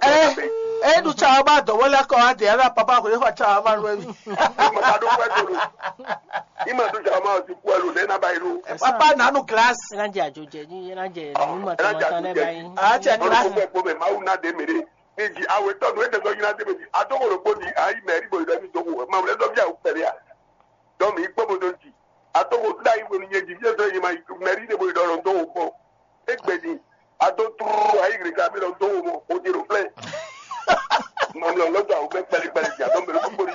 eyi ɖu tsa o ma dɔwɔ lɛ kɔ wa de ala papa ko ye xɔ tsa o ma ɖu ebi. Ma ka ɖo kwɛ to lo. Ima ɖo sia o ma ɔsi kwɛ lo ne na ba yi lo. Papa nanu glace. Ena jɛ ajo jɛ ní ena jɛ nínú mɔtɔmɔtɔ ne ba yi. A jɛ glace. Gbogbo mɛ Mawu ná de mɛ ɖe. Ní di awe tɔ nu ete sɔ yina de mɛ di. A dɔgɔ ɖokpo di ayi mɛ ri bo yi ɖɔ mi dɔgɔ ma wulɛ dɔ bi awu pɛlɛ ya. Dɔ mi kpɔ bo do di. A dɔgɔ da yi wenu nye di bi sɔ yi ma mɛ ri de bo yi ɖɔ lɔ dɔgɔ kpɔ. Egbe di. A dɔ turu ayi gre ka mi lɔ dɔgɔ mɔ o di ɖo flɛ. Mamlɛ lɔ dɔ awu mɛ kpɛlɛ kpɛlɛ di a dɔ mɛ ɖokpo di.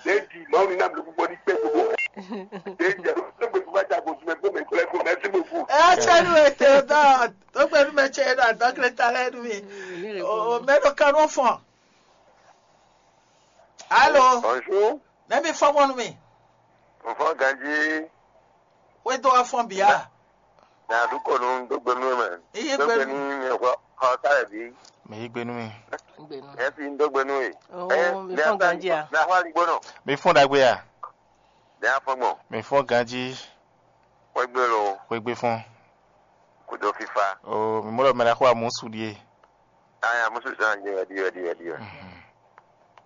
Ɖe di Mawu ni na mɛ ɖokpo di kpɛ gbogbo. Ɖe di a dɔ gbe kuba ja go sumɛ kpɔ mɛ kpɛlɛ kpɔ mɛ ti gbogbo. Ɛ cɛ nu ete dɔ. Tó gbé nú mɛ ce ɖo adɔkle ta lɛ nú mi. O mɛ ɖo kanú fɔn. Alo. Bonjour. Nɛ mi fɔn bɔ nú mi. Nfɔn ganji. Wé dó wá fɔn bia. Na du kɔnu dó gbé nú mɛ. Iye gbé nú. Dó gbé nú mi xɔ xɔ ta lɛ bi. Mi yí gbé nú mi. Ɛ fi dó gbé nú e. Oh, mi fɔn ganji a. Na xɔ ali gbónɔ. Mi fɔn dagbe a. Dɛ afɔ gbɔn. Mi fɔn ganji. Xwé gbé lo. Xwé gbé fɔn. Kudo fifa. O mi mɔ ɖɔ mɛ ɖaxó amusu ɖie. Aya musu zan jɛ wɛ ɖi wɛ ɖi wɛ ɖi wɛ.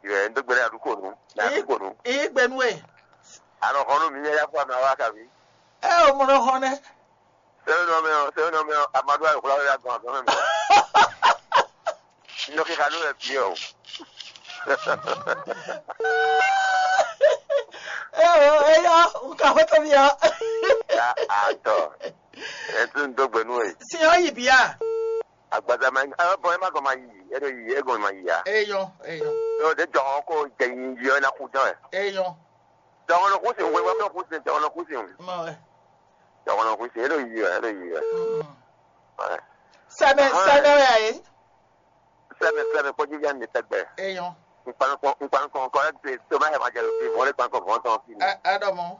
Ɖi wɛ ndo gbɛlɛ aɖukonu. Na aɖukonu. Ii gbɛnu e. Alɔ xɔnu mi yɛ ya fɔ amɛ wa kabi. Ɛ o mɔ nɔ xɔ nɛ. Sɛbɛn nɔ mɛ o sɛbɛn nɔ mɛ o amadu ayi kula ya gbɔn agbɔn mɛ. Nɔ kika nu wɛ bi o. Ɛ o eya nka xɔtɔ mi ya. Ya atɔ. Ɛtú ń dó gbɛnú ɛ. Sin ɔ yi bia. Agbaza ma ɛ bɔn ɛ ma gɔn ma yi ɛ ɖo yi ɛ gɔn ma yi ya. Eyɔn eyɔn. Yɔ de jɔ ɔ ko jɛ yi yi ɔ na ku dán ɛ. Eyɔn. Dɔgɔnɔ kú sin wɛ wɛ kú sin dɔgɔnɔ kú sin. Mɔ ɛ. Dɔgɔnɔ kú sin ɛ ɖo yi ɛ ɛ ɖo yi ɛ. Sɛmɛ sɛmɛ wɛ ayi. Sɛmɛ sɛmɛ kpɔjú yá mi tɛgbɛ. Eyɔn. Nkpankɔ nkpankɔ kɔ ɛ ti tó bá yɛ ma jɛ lóbi vɔlé kpankɔ vɔn tɔn fi mi. Ɛ ɛ dɔ mɔ.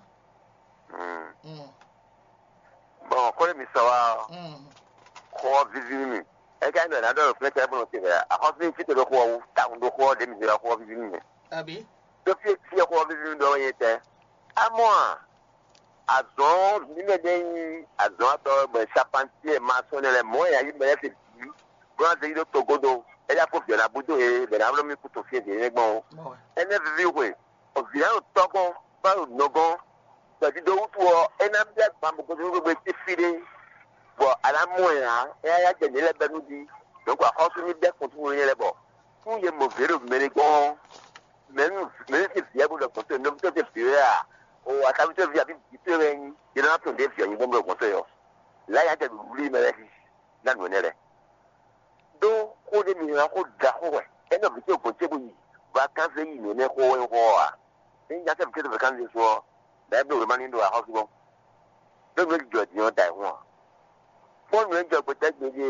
Bɔn kɔlé mi sɔ wa ɔ. Xɔ vivi mi. Ɛ ká ndɔ ná dɔ fún ɛtɛ bɔn ti bɛ. Akɔfin fi to ɖo xɔ wu ta kun ɖo xɔ ɖe mi se xɔ vivi mi. Abi. Tó fi fi xɔ vivi mi dɔ yɛ tɛ. Amɔ a. Azɔn nínú ɛdɛ nyi azɔn atɔ bɛ sapantiɛ ma sɔn ne lɛ mɔ ya yi mɛ lɛ se bi. Bɔn a se yi ɖo togodo. Ɛ ya ko biɔ na budo he bɛ na wlɔ mi kutu fi de ne gbɔn o. Ɛnɛ vivi hwe. Vǐ lɛ́ɛ ɖo tɔ́ gɔ́n, bó ɖo nɔ gɔ́n. Gbɛ̌dídó wútu ɔ́, é ná bɛ́ gbǎn bɔ gosín gbogbo tɛ́ fí ɖé, bɔ a nǎ mɔ ɛ ǎ. É ná yá jɛ nǔ lɛ́ɛ bɛ́ nú jí. Dɔ̌nkɔ axɔ́sú ní bɛ́ kɔn túnnu nyɛ lɛ́ɛ bɔ nú yě mɔ vǐ ɖo mɛ ɖé gɔ́n ɔ́, mɛ nú mɛ nú sín vǐ wɛ bó ɖɔ gbɔn tó nɔví tɔn sín vǐ wɛ a? O akáwí tɔn ví abǐ vǐ tɔn wɛ nyí, yě ná tunwun ɖě vǐ ɔ́ nyí gbɔn bó ɖɔ gbɔn tó yɔ. Lǎ yá jɛ nǔɖuɖu mɛ lɛ́ɛ xixi ná nǔ énɛ́ lɛ́ɛ. Ɖó xó ɖé mi ná xó ɖaxó wɛ, é nɔ vǐ ce gbɔn ce bó yi, bɔ a kánzé yi nǔ énɛ́ xó wɛ xó ɔ́ ǎ. Ényí nyatávi ce ɖo vɛ̌ kánzé su ɔ́, ɖɛ̌ bló wěma ní ɖo axɔ́sú gbɔn. Ɖó nǔ e jijɔ din ɔ́ da ayǐ hun ǎ. Kpɔ́n nǔ e jɔ gbetɛ́ gbeɖé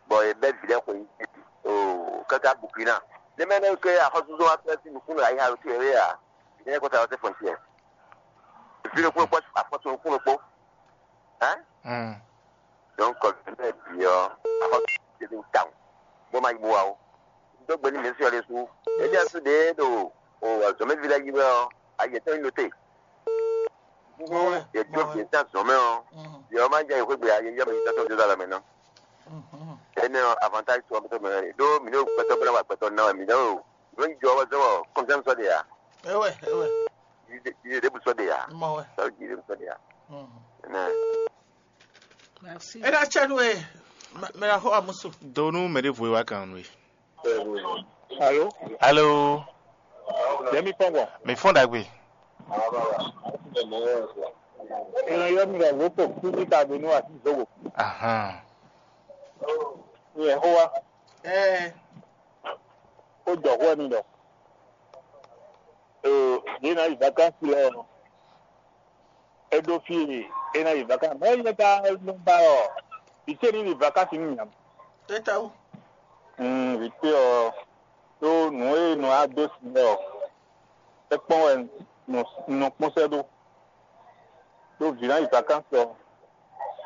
bɔ è bɛ́ vǐ lɛ́ɛ xweyǐgbe oo káká Bukina. Nɛ́ mɛ nɛ́ ké axɔ́súzɔ wá fɛ́ sín nukúnnú ayǐ ha ɖo tó yě wé ǎ. Vǐ nɛ́ kó ta wá sɛ́ fɔntiɛ. Vǐ ɖokpó kpó afɔtún nukún ɖokpó. Ɛ? Donc, vǐ lɛ́ɛ bǐ ɔ́, axɔ́sú ce ɖo tawun, bó ma yi bó wá ó. Dó gbe nú mǐ sín ɔ́ ɖésú. Éɖíasu ɖě ɖo o azɔ̌mɛví lɛ́ɛ yi wɛ ɔ́, ayǐ yětɔn nyí nɔte. Yě dó vǐ tɔn azɔ̌ mɛ ɔ́, yě ɔ́ ma jɛ yi xwé gbe ayǐ yá mɛ yǐtɔn tɔn dó alɔ mɛ ná. Énɛ́ ɔ́, avantáji tɔn mɛ tɔn mɛ wɛ ɖe. Ɖó mǐ ɖo gbɛtɔ́ bó ná wa gbɛtɔ́ ná wɛ mǐ ɖɔ o. Nǔ e jɔ wɛ zɔ́n wɔ kɔnfíánsi ɔ́ ɖe ǎ. Ewɛ, ewɛ. Yíyí ɖěbǔ sɔ́ ɖe ǎ. Mɔ wɛ. Sɔ́ yíyí ɖěbǔ sɔ́ ɖe ǎ. Ɛnɛ. Merci. Ena cɛ nu e mɛ la xɔ amusu. Do nú mɛ ɖěvo e wá kan nú e. Alo. Alo. Ɖe mi fɔn gbɔn. Mi fɔn ɖagbe. Ena yɔ mi ɖɔ lóko kúkú ta do nú asi zogo. Ahan. Nyɛ xó wa. Ɛɛ. Ó jɔ xó ɛni ɖɔ. Ɖo yě ná yi vakansi lɛ́ɛ ɔ́, é ɖó fí e é ná yi vakansi. Mɛ̌ nyɛ ka nɔ ba ɔ́, vǐ ce ní yi vakansi nú nya. Tɛ́tɛ́wú. Vǐ ce ɔ́, ɖó nǔ e nɔ wá dó sin lɛ́ɛ ɔ́, é kpɔ́n wɛ un nɔ kpɔ́n sɛ́ ɖó. Ɖó vǐ ná yi vakansi ɔ́,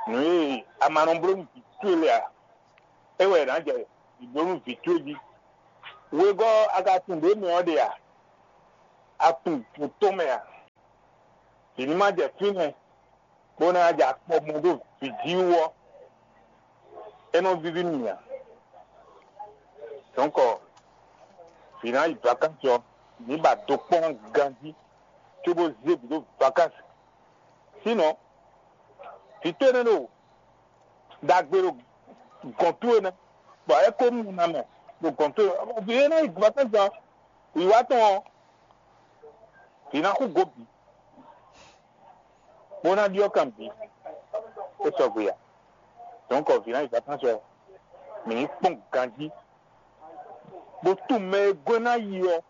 nǔ e a ma nɔ bló nú vǐ towe lɛ́ɛ ǎ, é wɛ è nǎ jɛ vǐ bló nú vǐ towe jí. Wegɔ́ a ka tunwun ɖě mɛ ɔ́ ɖe a? A tunwun vǔ tɔn mɛ a? Vǐ ní ma jɛ fínɛ́ bó ná jɛ akpɔ mɔ ɖó vǐ jí wú ɔ́, é nɔ víví nú mì ǎ. Dɔ̌nkɔ, vǐ ná yi vakansi ɔ́, mǐ ba do kpɔ́n ganjí cóbó zé vǐ ɖó vakansi. Sínɔ, vǐ towe nɛ́ ɖo ɖagbe ɖo gɔ̌n towe nɛ́, bɔ é ko nu ná mɛ ɖo gɔ̌n towe. Vǐ e ná yi vakansi ɔ́, wǐwá tɔn ɔ́, vǐ ná xú gǒ bǐ, bó ná ɖyɔ́ kan bǐ, é sɔgbe ǎ. Dɔ̌nkɔ, vǐ ná yi vakansi ɔ́, mǐ ní kpɔ́n ganjí, bó tunwun mɛ e gɔ́ ná yi ɔ́,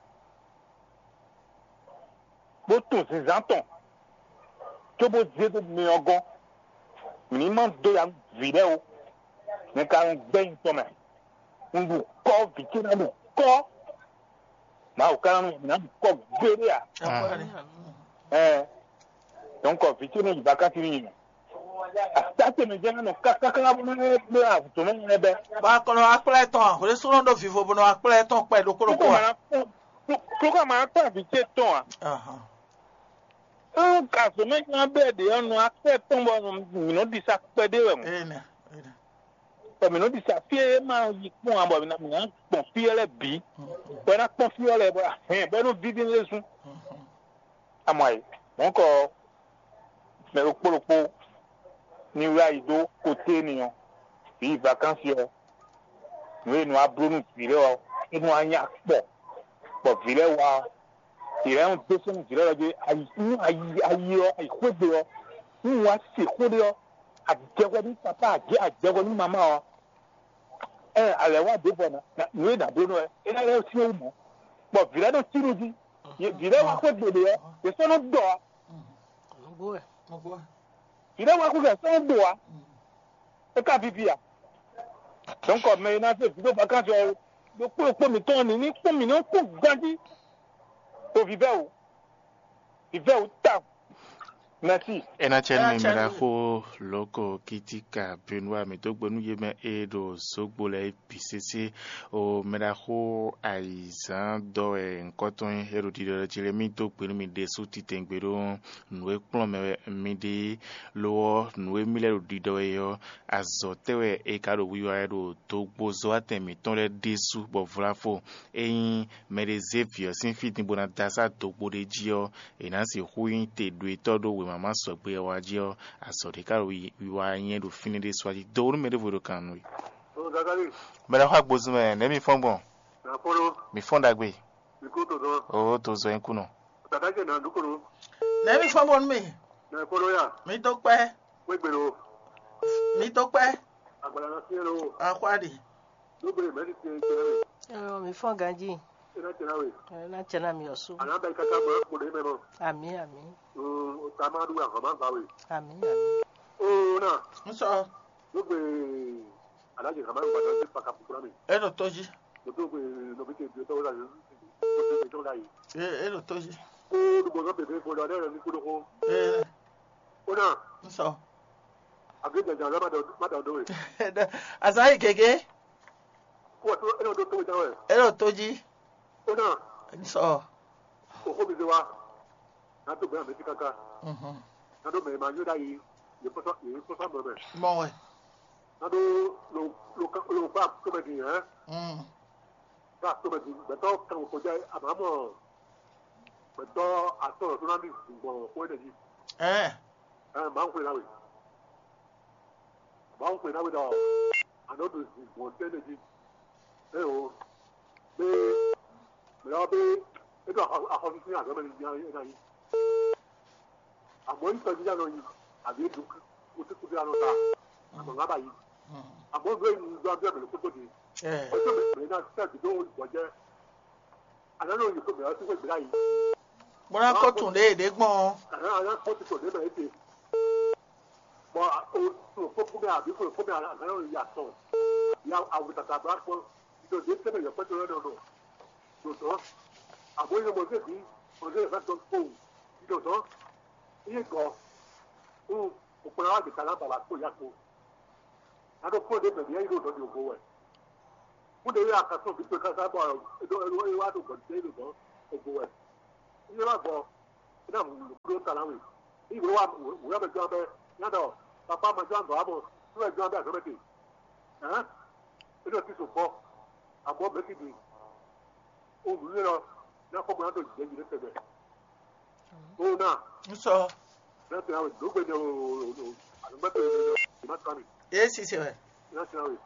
bó tunwun zǐnzán tɔn, cóbó zé dó mɛ ɔ́ gɔ́n. Mǐ ní ma dó ya nú vǐ lɛ́ɛ ó. Nyɛ ka nɔ gbɛ́ nyi tɔn mɛ. Un ɖu kɔ́, vǐ ce ná ɖu kɔ́. Mawu ka ná nɔ mǐ ná ɖu kɔ́ gbeɖé a? Ɛɛ, dɔ̌nkɔ vǐ ce nɔ yi vakansi nú nyi mɛ. Ata ce mɛ jɛ́n nɔ kákáká bó nɔ bó nɔ avutɔ mɛ nɔ bɛ́. Bɔ akɔlɔ akplá tɔn a? Hwlé sɔ́ nɔ ɖó vivo bó nɔ akplá tɔn kpɛ ɖokpó ɖokpó a? Klokɔ ma kpɔ́n vǐ ce tɔn a? Ahan. Ɔn, kazɔmɛ nya bɛ ɖe ɔ́ nɔ akpɛ tɔn bɔ mǐ nɔ ɖisa kpɛɖé wɛ mɔ. Ee nɛ, ee nɛ. Bɔ mǐ nɔ ɖisa fí e ma yi kpɔ́n ǎ, bɔ mǐ ná mǐ ná gbɔn fí ɔ́ lɛ́ɛ bǐ. Bɔ é ná kpɔ́n fí ɔ́ lɛ́ɛ bɔ ahɛn bɔ é nɔ víví lɛ́ zún. Amɔ ayǐ, mɔ̌kɔ mɛ ɖokpó ɖokpó ní wlá yi dó koté ni ɔ́, yi vakansi ɔ́, nǔ e nɔ wá bló nú vǐ lɛ́ɛ ɔ́, é nɔ wá nyí akpɔ, bɔ vǐ lɛ́ɛ wá ɔ́, vǐ lɛ́ɛ nɔ dó sɛ́n nú vǐ lɛ́ɛ jí ayi nú ayi ayi ɔ́, ayi xwé gbe ɔ́, nú wá se xó ɖé ɔ́, a jɛ hwɛ nú papá, a jɛ a jɛ hwɛ nú mamá ɔ́, ɛ a lɛ̌ wá ɖěbǔ ɔ́, nǔ e nǎ bló nú wɛ é ná lɛ́ syɛ́n wú mɔ̌, bɔ vǐ lɛ́ɛ nɔ cí nú jí. Vǐ lɛ́ɛ wá xwé gbe ɖě ɔ́, yě sɔ́ nɔ dɔ ǎ. Vǐ lɛ́ɛ wá xwé gbe sɔ́ nɔ dɔ ǎ. É ka víví a? Dɔ̌nkɔ mɛ e ná zé vǐ ɖó vakansi ɔ́, ɖokpó ɖokpó mǐtɔn ní ní kpɔ́n mǐ nɔ kpɔ́n ganjí ɖo vǐvɛ́ wǔ. Vǐvɛ́ wǔ tawun. Mɛ̌si. É ná cɛ nú mi, mɛ ɖaxó Loko Kitika Benua, mǐ dó gbe nú yě mɛ e ɖo zǒgbo lɛ́ɛ bǐ sésé. O mɛ ɖaxó ayǐzán dɔ wɛ ŋkɔ́ tɔn nyí, é ɖo ɖiɖɔ ɖɔ jí lɛ́ɛ mì dó gbe nú mi ɖésú titɛngbé ɖó nǔ e kplɔ́n mɛ wɛ mi ɖe é. Lo ɔ́, nǔ e mì lɛ́ ɖo ɖiɖɔ wɛ é ɔ́, azɔ̌ tɛ́ wɛ è ka ɖo wiwa wɛ ɖo dogbozɔ́watɛn mǐtɔn lɛ́ɛ ɖésú, bɔ vlafo ényí mɛɖé zé vǐ ɔ́ sín fí din bó ná dó asá dogbo ɖé jí ɔ́, è nǎ sixú nyí te ɖo etɔ́ ɖó wěma ma sɔgbe ɔ́ wa jí ɔ́, azɔ̌ ɖé ka ɖo wiwa nyɛ ɖo fínɛ́ ɖé sɔ́ jí. Do nú mɛ ɖěvo ɖo kan nú we. Mɛ ɖaxó agbozun mɛ, nɛ̌ mi fɔ́n gbɔn? Mi fɔ́n ɖagbe. Oo, to zɔ nyí kú nɔ. Nɛ̌ mi fɔ́n gbɔn nú mi? Mi dó kpɛ́. Mi dó kpɛ́. Axwáɖi. Ɛɛ, mi fɔ́n ganjí. Ɛ ná tɛ ná mi ɔsú. Àná bɛ kaka mɔ ɛ kpo ɖe mɛ nɔ. Àmì àmì. Mm, o ta ma ɖu ahọ́n ma gba we. Àmì àmì. O na. N sɔ. Ló gbe alájẹ kama gba dɔ sí paka kúkúrá mi. E ɖo tó jí. Mo tó gbe nɔbi tẹ bi tɔwọ́ la yìí. Mo tó gbe tɔwọ́ la yìí. E e ɖo tó jí. Ko ɖo bɔ nɔ bebe ko lɔ ne yɛrɛ mi ko ɖo ko. Ee. O na. N sɔ. Àbí jàjà lɔ má dọ̀ má dọ̀ dó we. Azan yi gègé. Kó o tó e ɖo tó we tán wɛ. E ɖo tó jí. Ó ná Sɔ. Òxó mi zé wá. Ná tó gbɛ́ àmì sí káká. Mhm. Ná tó mɛ ma nyó ɖ'ayǐ. Yě kpɔ́sá yě kpɔ́sá mɔ mɛ. Mɔ wɛ. Ná tó lo lo ká lo kpá tó mɛ din hɛn. Mm. Ká tó mɛ din gbɛtɔ kan kò jɛ àmà mɔ gbɛtɔ atɔ lɔ tó ná mi gbɔn xó ɛnɛ jí. Ɛ. Ɛ máa ń xwé ná wè. Máa ń xwé ná wè ɖɔ àná ɖo zǐn gbɔn tɛ́ ɖe jí. Ɛ o. Bé mɛ lɔ bé é ɖo axɔsísí azɔ̌ mɛ ní nya é ná nyí. Àmọ́ yí tɔjíjá nɔ nyi àbí é dùn kúkúkú anɔ ta àmọ́ ŋá bá yí. Àmọ́ nú èyí ń dɔn abíọ́ mẹ́lẹ́ kókó di. Ó tó mẹ́lẹ́ náà sẹ́ẹ̀dì dó ìgbọ́jẹ́. Àná ló yẹ kó mẹ́lẹ́ sí wẹ́gbẹ́ láyé. Bó ná kó tún ɖě yě ɖe gbɔn ɔ́. Àná àná kpɔ́ ti tɔn ɖě mɛ é te. Bɔ o o kpɔ́ kpɔ́ mɛ àbí o kpɔ́ mɛ àná àná ya tɔn. Ya awu tata bla kpɔ́. Ìdò ɖě tɛ́ mɛ yɔkpɛ́ tɔn lɛ́ nɔ nɔ. Dòdò. Àbó yɛ mɔ zé bí mɔ zé yɛ fẹ́ tɔn kpó. Ìdòdò. Iye gɔ. O o kplá wá gbèsè alábàbà kpó ya kpó. Aɖo kpɔ́ ɖé mɛ mǐ yí ɖo nɔ ɖi ògo wɛ. Kúɖe yí akasɔ́ vǐ towe káká bɔ é ɖó é wá ɖo gɔ̌n ɖé ɖo gɔ̌n ògo wɛ. Yí wá gbɔ é ná mú ɖó ta ná we. Yí wé wá wé wá mɛ jɔ abɛ yá ɖɔ papa ma jɔ abɛ wá mɔ nú wɛ jɔ abɛ azɔ̌ mɛ te. Hɛn é ɖo tí so gbɔ abɔ mɛ ti ɖi o nǔ yé lɔ ná kɔ bɔ ná ɖo jɛ yi ɖe tɛgbɛ. O ná. Nsɔ. Ná tɛ awe dó gbe ne o o o alɔgbɛtɔ yé ne o má tán ni. Esi se wɛ. Ná tɛ awe.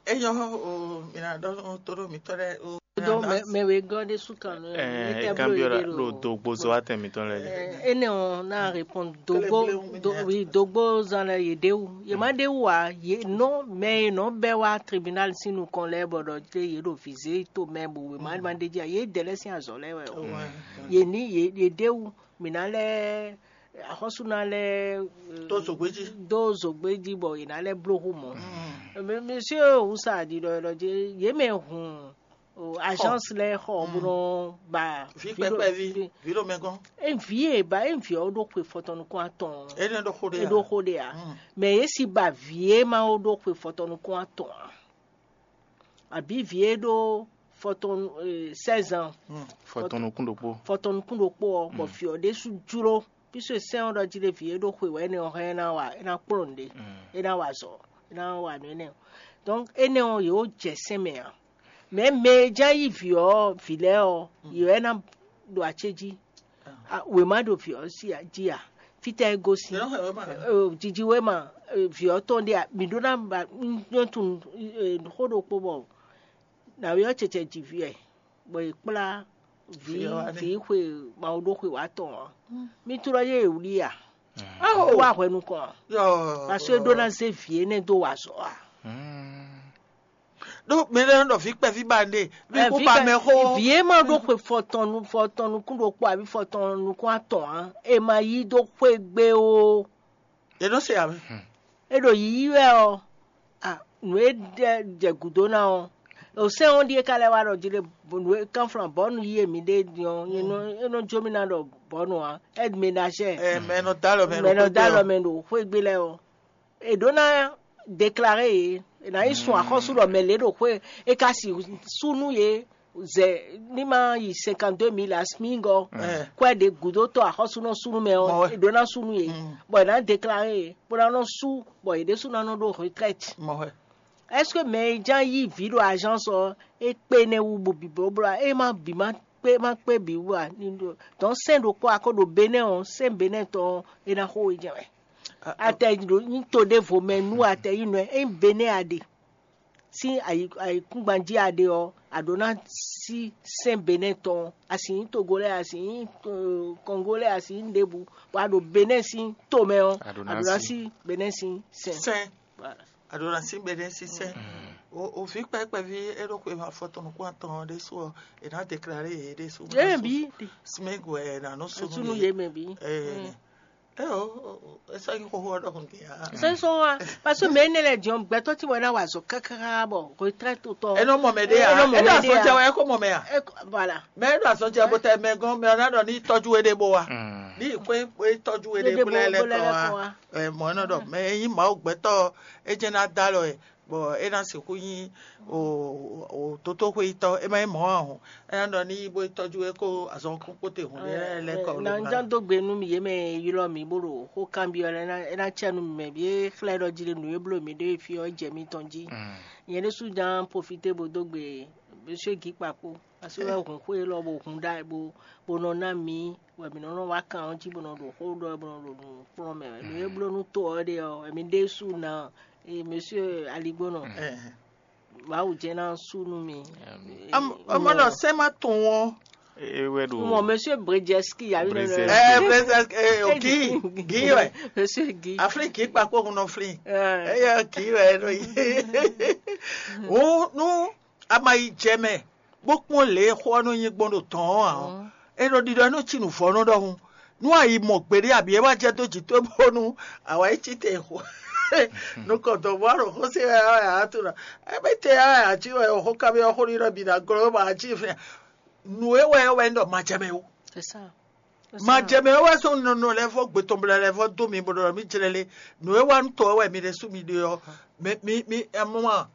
Eyɔ o mina ɖɔ to ɖo mitɔ ɖe o. Donc, mais, mais we gɔn ɖe su kan nɔ. Eh, e kan biɔ la ɖo dogbo zɔ atɛ mitɔ lɛ. Ene on na répondre dogbo. Oui, dogbo zan lɛ ye ɖe wu ye ma ɖe wu a ye nɔ mais ye nɔ bɛ wa tribunal si nukɔn lɛ bɔ ɖɔ te ye ɖo vize to mɛ bo we ma ma ɖe dzi a ye dɛ lɛ sin azɔ lɛ wɛ o. Ye ni ye ye ɖe wu mina lɛ axɔsuna lɛ. To zogbe ji. Do zogbe ji bɔ yina lɛ blo hu mɔ. Monsieur wusa ɖiɖɔ ɖɔ je ye mɛ hun agence lɛ xɔ bó nɔ ba vi kpɛkpɛ vi vi ɖo mɛ gɔn. E vi e ba e vi ɔ ɖo xwe fɔtɔnukun atɔn. E ɖo xo ɖe e ɖo xo ɖe a. Mɛ ye si ba vi e ma wo ɖo xwe fɔtɔnukun atɔn a. Àbí vǐ e ɖó fɔtɔn seize ans. Fɔtɔnukún ɖokpó. Fɔtɔnukún ɖokpó ɔ bɔ vǐ ɔ ɖésú jló. Píso sɛ́n ɔ́ ɖɔ jí ɖé vǐ e ɖó xwe wɛ énɛ́ ɔ́ hɛn é ná wa é ná kplɔ́n nǔɖé. É ná wa azɔ̌ é ná wa nǔ énɛ́ ɔ́. Donc énɛ́ ɔ́ yě wó jɛ sɛ́n mɛ ǎ. Mɛ̌ mɛ e ján yí vǐ ɔ́ vǐ lɛ́ɛ ɔ́ yě wɛ ná ɖo acéjí. Wěma ɖo vǐ ɔ́ jí ǎ. Fítɛ́ é gosín? Jijiwéma vǐ ɔ́ tɔn ɖé a mǐ ɖó ná ba nyɔ́ tunwun xó ɖokpó bɔ nǎwe ɔ́ cɛcɛ ji vǐ wɛ bɔ è kplá vǐ vǐ xwe mawu ɖó xwe wǎ tɔn ɔ́. Mí tlɔ́ yé è wlí a? Wá hwɛ nukɔn a? Parce que é ɖó ná zé vǐ énɛ́ dó wa azɔ̌ a? Ɖó mɛ lɛ́ɛ nɔ ɖɔ vǐ kpɛví ba ɖe vǐ kú ba mɛ xó. Vǐ e ma ɖó xwe fɔtɔn fɔtɔn nukún ɖokpó abí fɔtɔn nukún atɔn ǎ, è ma yí dó xwé gbé ó. È nɔ se ǎ mɛ. É ɖo yiyi wɛ ɔ́, nǔ e jɛ gǔdo ná ɔ́, osɛ́n ɔ́ ɖíe ka lɛ́ wá ɖɔ jí ɖe nǔ e kánflán bɔ̌nu yí e mǐ ɖe din ɔ́, é nɔ jó mì ná ɖɔ bɔ̌nu ǎ, aide ménagère. Mɛ nɔ dó alɔ mɛ mɛ nɔ dó alɔ mɛ ɖo xwé gbé lɛ́ɛ ɔ́. È ɖǒ ná déclaré yě, è nǎ yi sun axɔ́sú ɖɔ mɛ lě ɖo xwé, é ka si sú nú yě zɛ ní ma yi cinquante-deux mille asmingɔ kwɛ ɖě gǔdo tɔn axɔ́súnɔ sú nú mɛ ɔ́, è ɖǒ ná sú nú yě, bɔ è nǎ déclaré yě, bó ná nɔ sú, bɔ yě ɖésú ná nɔ ɖó retraite. Est-ce que mɛ e ján yí vǐ ɖo agence ɔ́, é kpé nɛ́ wú bo bǐ blóbló ǎ? É má bǐ má kpé má kpé bǐ wú ǎ? Donc sɛ́n ɖokpó a ko ɖo Benɛ́ ɔ́, sɛ́n Benɛ́ tɔn ɔ́, é ná xo we jɛ́n wɛ. Atɛ nyí to ɖěvo mɛ nú atɛ nyí nɔ ɛ, ényí Benɛ́ a ɖe sín ayǐkúngban jí a ɖe ɔ́, a ɖǒ ná sí sɛ́n Benɛ́ tɔn, a sì nyí Togo lɛ́ɛ, a sì nyí Kɔngo lɛ́ɛ, a sì nyí ɖěbǔ, bɔ a ɖo Benɛ́ sín to mɛ ɔ́, a ɖǒ ná sí Benɛ́ sín sɛ́n. Sɛ́n. A ɖǒ ná sí Benɛ́ sín sɛ́n. O vǐ kpɛví e ɖo xwe afɔtɔn nukún atɔn ɔ́ ɖésú ɔ́, è nǎ deklare yě ɖésú. Yě bǐ. Smegwɛ è nǎ nɔ sú nú yě mɛ bǐ. Ɛ o esa yi xoxo ɔ́ ɖɔhun gɛ́ ya. Sɛnsɔn wa, parce que mɛ énɛ́ lɛ́ɛ jɔn gbɛtɔ́ tí wọ́n ná wà zɔ káká bɔ retraite tɔn. Ɛ nɔ mɔ mɛ ɖé ya. Ɛ nɔ mɔ mɛ ɖé ya. Ɛ ɖo azɔn jɛ wɛ ɛ kó mɔ mɛ ya. Voilà. Mɛ ɛ ɖo azɔn jɛ bó tɛ mɛ gɔn mɛ ɔ́ ná ɖɔ ní tɔjú we ɖé bó wa. Ní ìkó tɔjú we ɖé bó lɛ lɛ kɔ wa. Ɛ mɔ ɛ nɔ ɖɔ mɛ ɛ nyí Mawu gbɛtɔ́ ɛ jẹ́ ná dá lɔ ɛ. Bɔ é ná sixú nyí o o tótóxwéyítɔ́ é má nyí mɔ̌ ǎ hǔn é ná ɖɔ ní yi bó yi tɔ́jú é kó azɔn kpókpó te hǔn lɛ́ɛ lɛ́ kɔ. Na ján dó gbe nú mi yě mɛ e ylɔ́ mi bó ɖo xó kanbyɔ́ lɛ́ɛ é ná cɛ nú mi mɛ bǐ é xlɛ́ ɖɔ jí ɖe nǔ e bló mi ɖó e fí ɔ́ é jɛ mitɔn jí. Nyɛ ɖésú ján profité bó dó gbe Monsieur Guy Kpakpo. Parce que wɛ hun xwé lɔ bo hun ɖa bo bo nɔ ná mi wɛ mi nɔ nɔ wá kan ɔ́ jí bo nɔ ɖo xó ɖɔ bo nɔ ɖo nǔ kplɔ́n mɛ wɛ. Nǔ e bló nú to ɔ́ ɖe ɔ́, wɛ mi ɖésú ná e Monsieur Aligbónɔ. Mawu jɛ ná sú nú mi. Ɔmɔ nɔ sɛ́ má tɔn ɔ́. E wɛ ɖo. Mɔ Monsieur Brezeski yà mí nɔ. Ɛ Brezeski ɛ o kì í kì í wɛ. Monsieur Guy. Aflin kì í kpakpó hun nɔ flin. Ɛ yɛ kì í wɛ ɛ nɔ yi. Wú nú a ma yi jɛ mɛ bó kpɔ́n lě e xó ɔ́ nɔ nyí gbɔn ɖo tɔ̌ɔn ǎ ɔ́, É ɖo ɖiɖɔ nú ci nǔvɔ́nú ɖɔhun. Nú a yi mɔ gbeɖé abi é wá jɛ dó jǐ towe bónú a wá yi cí te xo. Nukɔntɔn bó a ɖo xó se wɛ a wɛ a tunɔ. Ebe te a wɛ a cí wɛ xó kabi ɔ́ xó ɖiɖɔ bi ná glɔ́ bɔ a cí fɛ. Nǔ e wɛ wɛ ɖɔ ma jɛ mɛ o. Ma jɛ mɛ wɛ sɔn nɔnɔ lɛ vɔ gbetɔnblɛ lɛ vɔ dó mi bɔ ɖɔ mi jlɛ lé. Nǔ e wá nú tɔ wɛ mi ɖe sú mi ɖe ɔ́. Mi mi mi ɛmɔ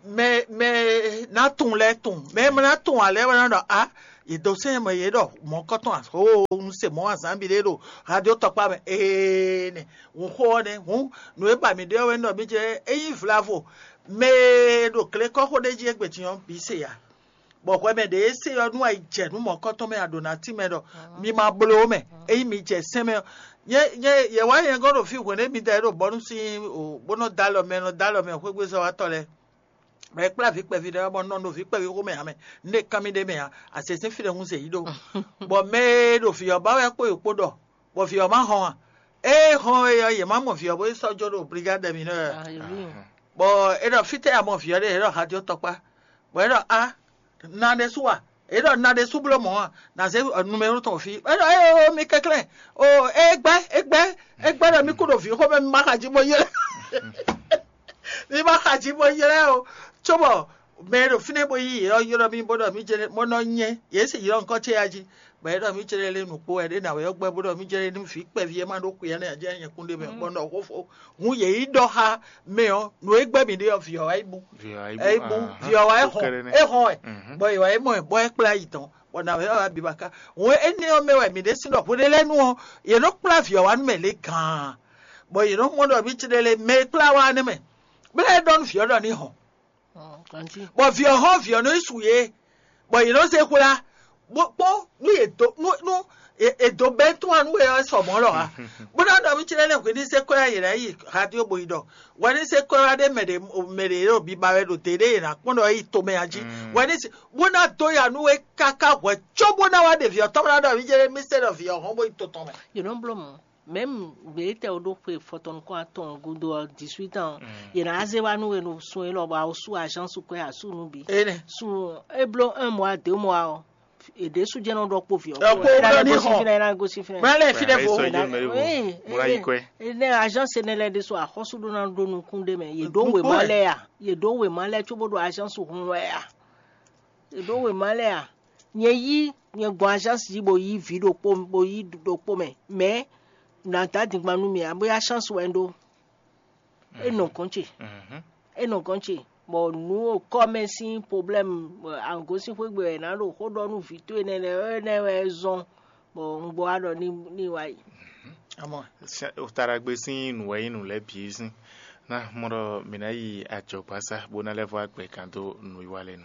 mɛ mɛ ná tun lɛ́ɛ tun mɛ mɛ ná tun alɛ wɛ ná ɖɔ a yě dó sɛn mɛ yě ɖɔ mɔ̌kɔtɔn axó un se mɔ̌ azǎn bi ɖé ɖo radio tɔkpá mɛ ee nɛ. Hun xó ɔ́ nɛ́ hun nǔ e ba mǐ ɖe ɔ́ wɛ ɖɔ mí jɛ é nyí vlavo mɛ e ɖo glekɔ́xo ɖé jí égbé din ɔ́ bǐ se ya. Bɔ hwɛ mɛ ɖě e se ɔ́ nú ayi jɛ nú mɔ̌kɔtɔn mɛ a ɖǒ ná tín mɛ ɖɔ mi ma bló mɛ ényí mi jɛ sɛn mɛ ɔ́. Nyɛ nyɛ yɛ wá nyɛ gɔ́ ɖo fí hwɛ̌n ɖé mi da é ɖo bɔ́nú sín o bó nɔ dó alɔ mɛ nɔ dó alɔ mɛ xwégbézɔ́watɔ́ lɛ́ɛ. Bɔ é kplá vǐ kpɛví ɖé bɔ nɔ ɖo vǐ kpɛví xomɛ ǎ mɛ. Nú é kán mì ɖ'é mɛ ǎ, asɛsɛ́n fí ɖé hun zě yí ɖó. Bɔ mɛ e ɖo vǐ ɔ́ ba wɛ kpó yě kpó ɖɔ, bɔ vǐ ɔ́ ma hɔn ǎ. Ée hɔn é ɔ́, yě má mɔ vǐ ɔ́ bó yi sɔ́ jó ɖo brigade mǐ nɔ. Bɔ é ɖɔ fítɛ́ a mɔ vǐ ɔ́ ɖe? É ɖɔ hajó tɔkpá. Bɔ é ɖɔ a, na ɖésú a? É ɖɔ na ɖésú bló mɔ̌ a? Na zé numero tɔn fí. É ɖɔ éyo mi kɛnklɛ́n. O é gbɛ́ é gbɛ́ é gbɛ́ ɖɔ mi kú ɖo vǐ xomɛ mi ma xa jí bó ylɛ́. Mi ma xa jí bó ylɛ́ o. Cóbɔ mɛ e ɖo fínɛ́ bó yí yě ɔ́ ylɔ́ mì bó ɖɔ mì jɛ́n mɔ nɔ nyɛ yě sì ylɔ́ nukɔn ce ya jí. Bɔ é ɖɔ mì jɛ́n lé nǔkpó wɛ ɖé nǎ wɛ ɔ́ gbɛ́ bó ɖɔ mì jɛ́n nú vǐ kpɛví e ma ɖó xwe ɔ́ nɛ́ ǎ jɛ́n nyɛ kún ɖ'é mɛ bɔ nɔ xó fó. Hǔn yě yi ɖɔ xá mɛ ɔ́ nǔ e gbɛ́ mì ɖe ɔ́ vǐ ɔ́ wá yi bú. É yi bú vǐ ɔ́ wá é hɔn é hɔn wɛ. Bɔ yě wá é mɔ ɛ bɔ é kplá yi tɔn bɔ nǎ wɛ ɔ́ wá biba ká. Hǔn énɛ́ ɔ́ mɛ wɛ mǐ ɖésú ɖɔ hweɖé lɛ́ɛ nu ɔ́ yě nɔ kplá vǐ ɔ́ wá nú mɛ lě gǎn. Bɔ yě nɔ mɔ ɖɔ mì jɛ́n lé mɛ e kplá wá nɛ́ mɛ. Bó lɛ́ ɖɔ nú vǐ ɔ́ ɖɔ ní hɔn. Bɔ vǐ ɔ́ hɔn vǐ ɔ́ nɔ yi su yě, bɔ yě nɔ zé xwlá, bó kpɔ́n nú yě dó nú nú è dó bɛ́ tún wá nú we ɔ́ sɔ mɔ̌ lɔ ǎ. Bó ná ɖɔ mì cɛ́nɛ́ nɛ́ hwě ní zé kɔ́ yá yě ná yi radio bó yi ɖɔ hwɛ ní zé kɔ́ yá ɖé mɛ ɖě mɛ ɖě ɖo biba wɛ ɖo dě ɖé yě ná kpɔ́n ɖɔ é yi tomɛ ǎ jí. Hwɛ ní zé bó ná dó ya nú we káká hwɛ có bó ná wá ɖe vǐ ɔ́ tɔn bó ná ɖɔ mì cɛ́nɛ́ mì se ɖɔ vǐ ɔ́ hɔn bó yi to tɔn mɛ. Yě nɔ bló mɔ̌. Mɛ̌m gbětɛ́ ó ɖó xwe fɔtɔn nukún atɔn gúdo ɔ́, dix-huit ans, yě ná zé wá nú we ɖo sun élɔ́ bɔ a ó sú azǎn su kwɛ́ a sú nú bǐ. Énɛ́. Sun é bló un mois deux mois ɔ́, è ɖě sú jɛ́n nɔ ɖɔ kpó vǐ ɔ́ Ɛ kpó kpó, é ná wɛ ní gosín hɔn. Fínɛ́, é ná gosín fínɛ́. Mɛ lɛ́ɛ fínɛ́ vo. Sɔ yí mɛ vo. Bó ná yi kɔɛ. Énɛ́ azǎn Sénélɛ́ ɖésú axɔ́sú ɖó ná ɖó nukún ɖé mɛ. Yě ɖó Nukún wěma ɛ. Lɛ́ɛ a? Yě ɖó wěma lɛ́ɛ cóbó ɖo azǎn su hun wɛ a? È ɖǒ wěma lɛ́ɛ a? Nyɛ yí nyɛ gbɔn azánsi jí bo yí vǐ ɖokpó bo yí ɖokpó mɛ, mɛ̌ nǎ dó adingban nú mì ǎ, bóyá chance wɛ un ɖó. É nɔ gɔ̌n ce, é nɔ gɔ̌n ce, bɔ nǔ kɔ́ mɛ sín problème, angǒ sín xwé gbe wɛ è nǎ ɖo xó ɖɔ nú vǐ towe nɛ́ lɛ́ɛ, énɛ́ wɛ é zɔ́n, bɔ un gbɔ wá ɖɔ ní ní wá yi. Amɔ, Taɖagbe sín nǔ wɛ nyí nǔ lɛ́ɛ bǐ sín. Ná mɔ ɖɔ mǐ ná yi ajɔ̌gbásá bó ná lɛ́ vɔ agbɛ̌ kan dó nǔwiwa lɛ́ɛ nu.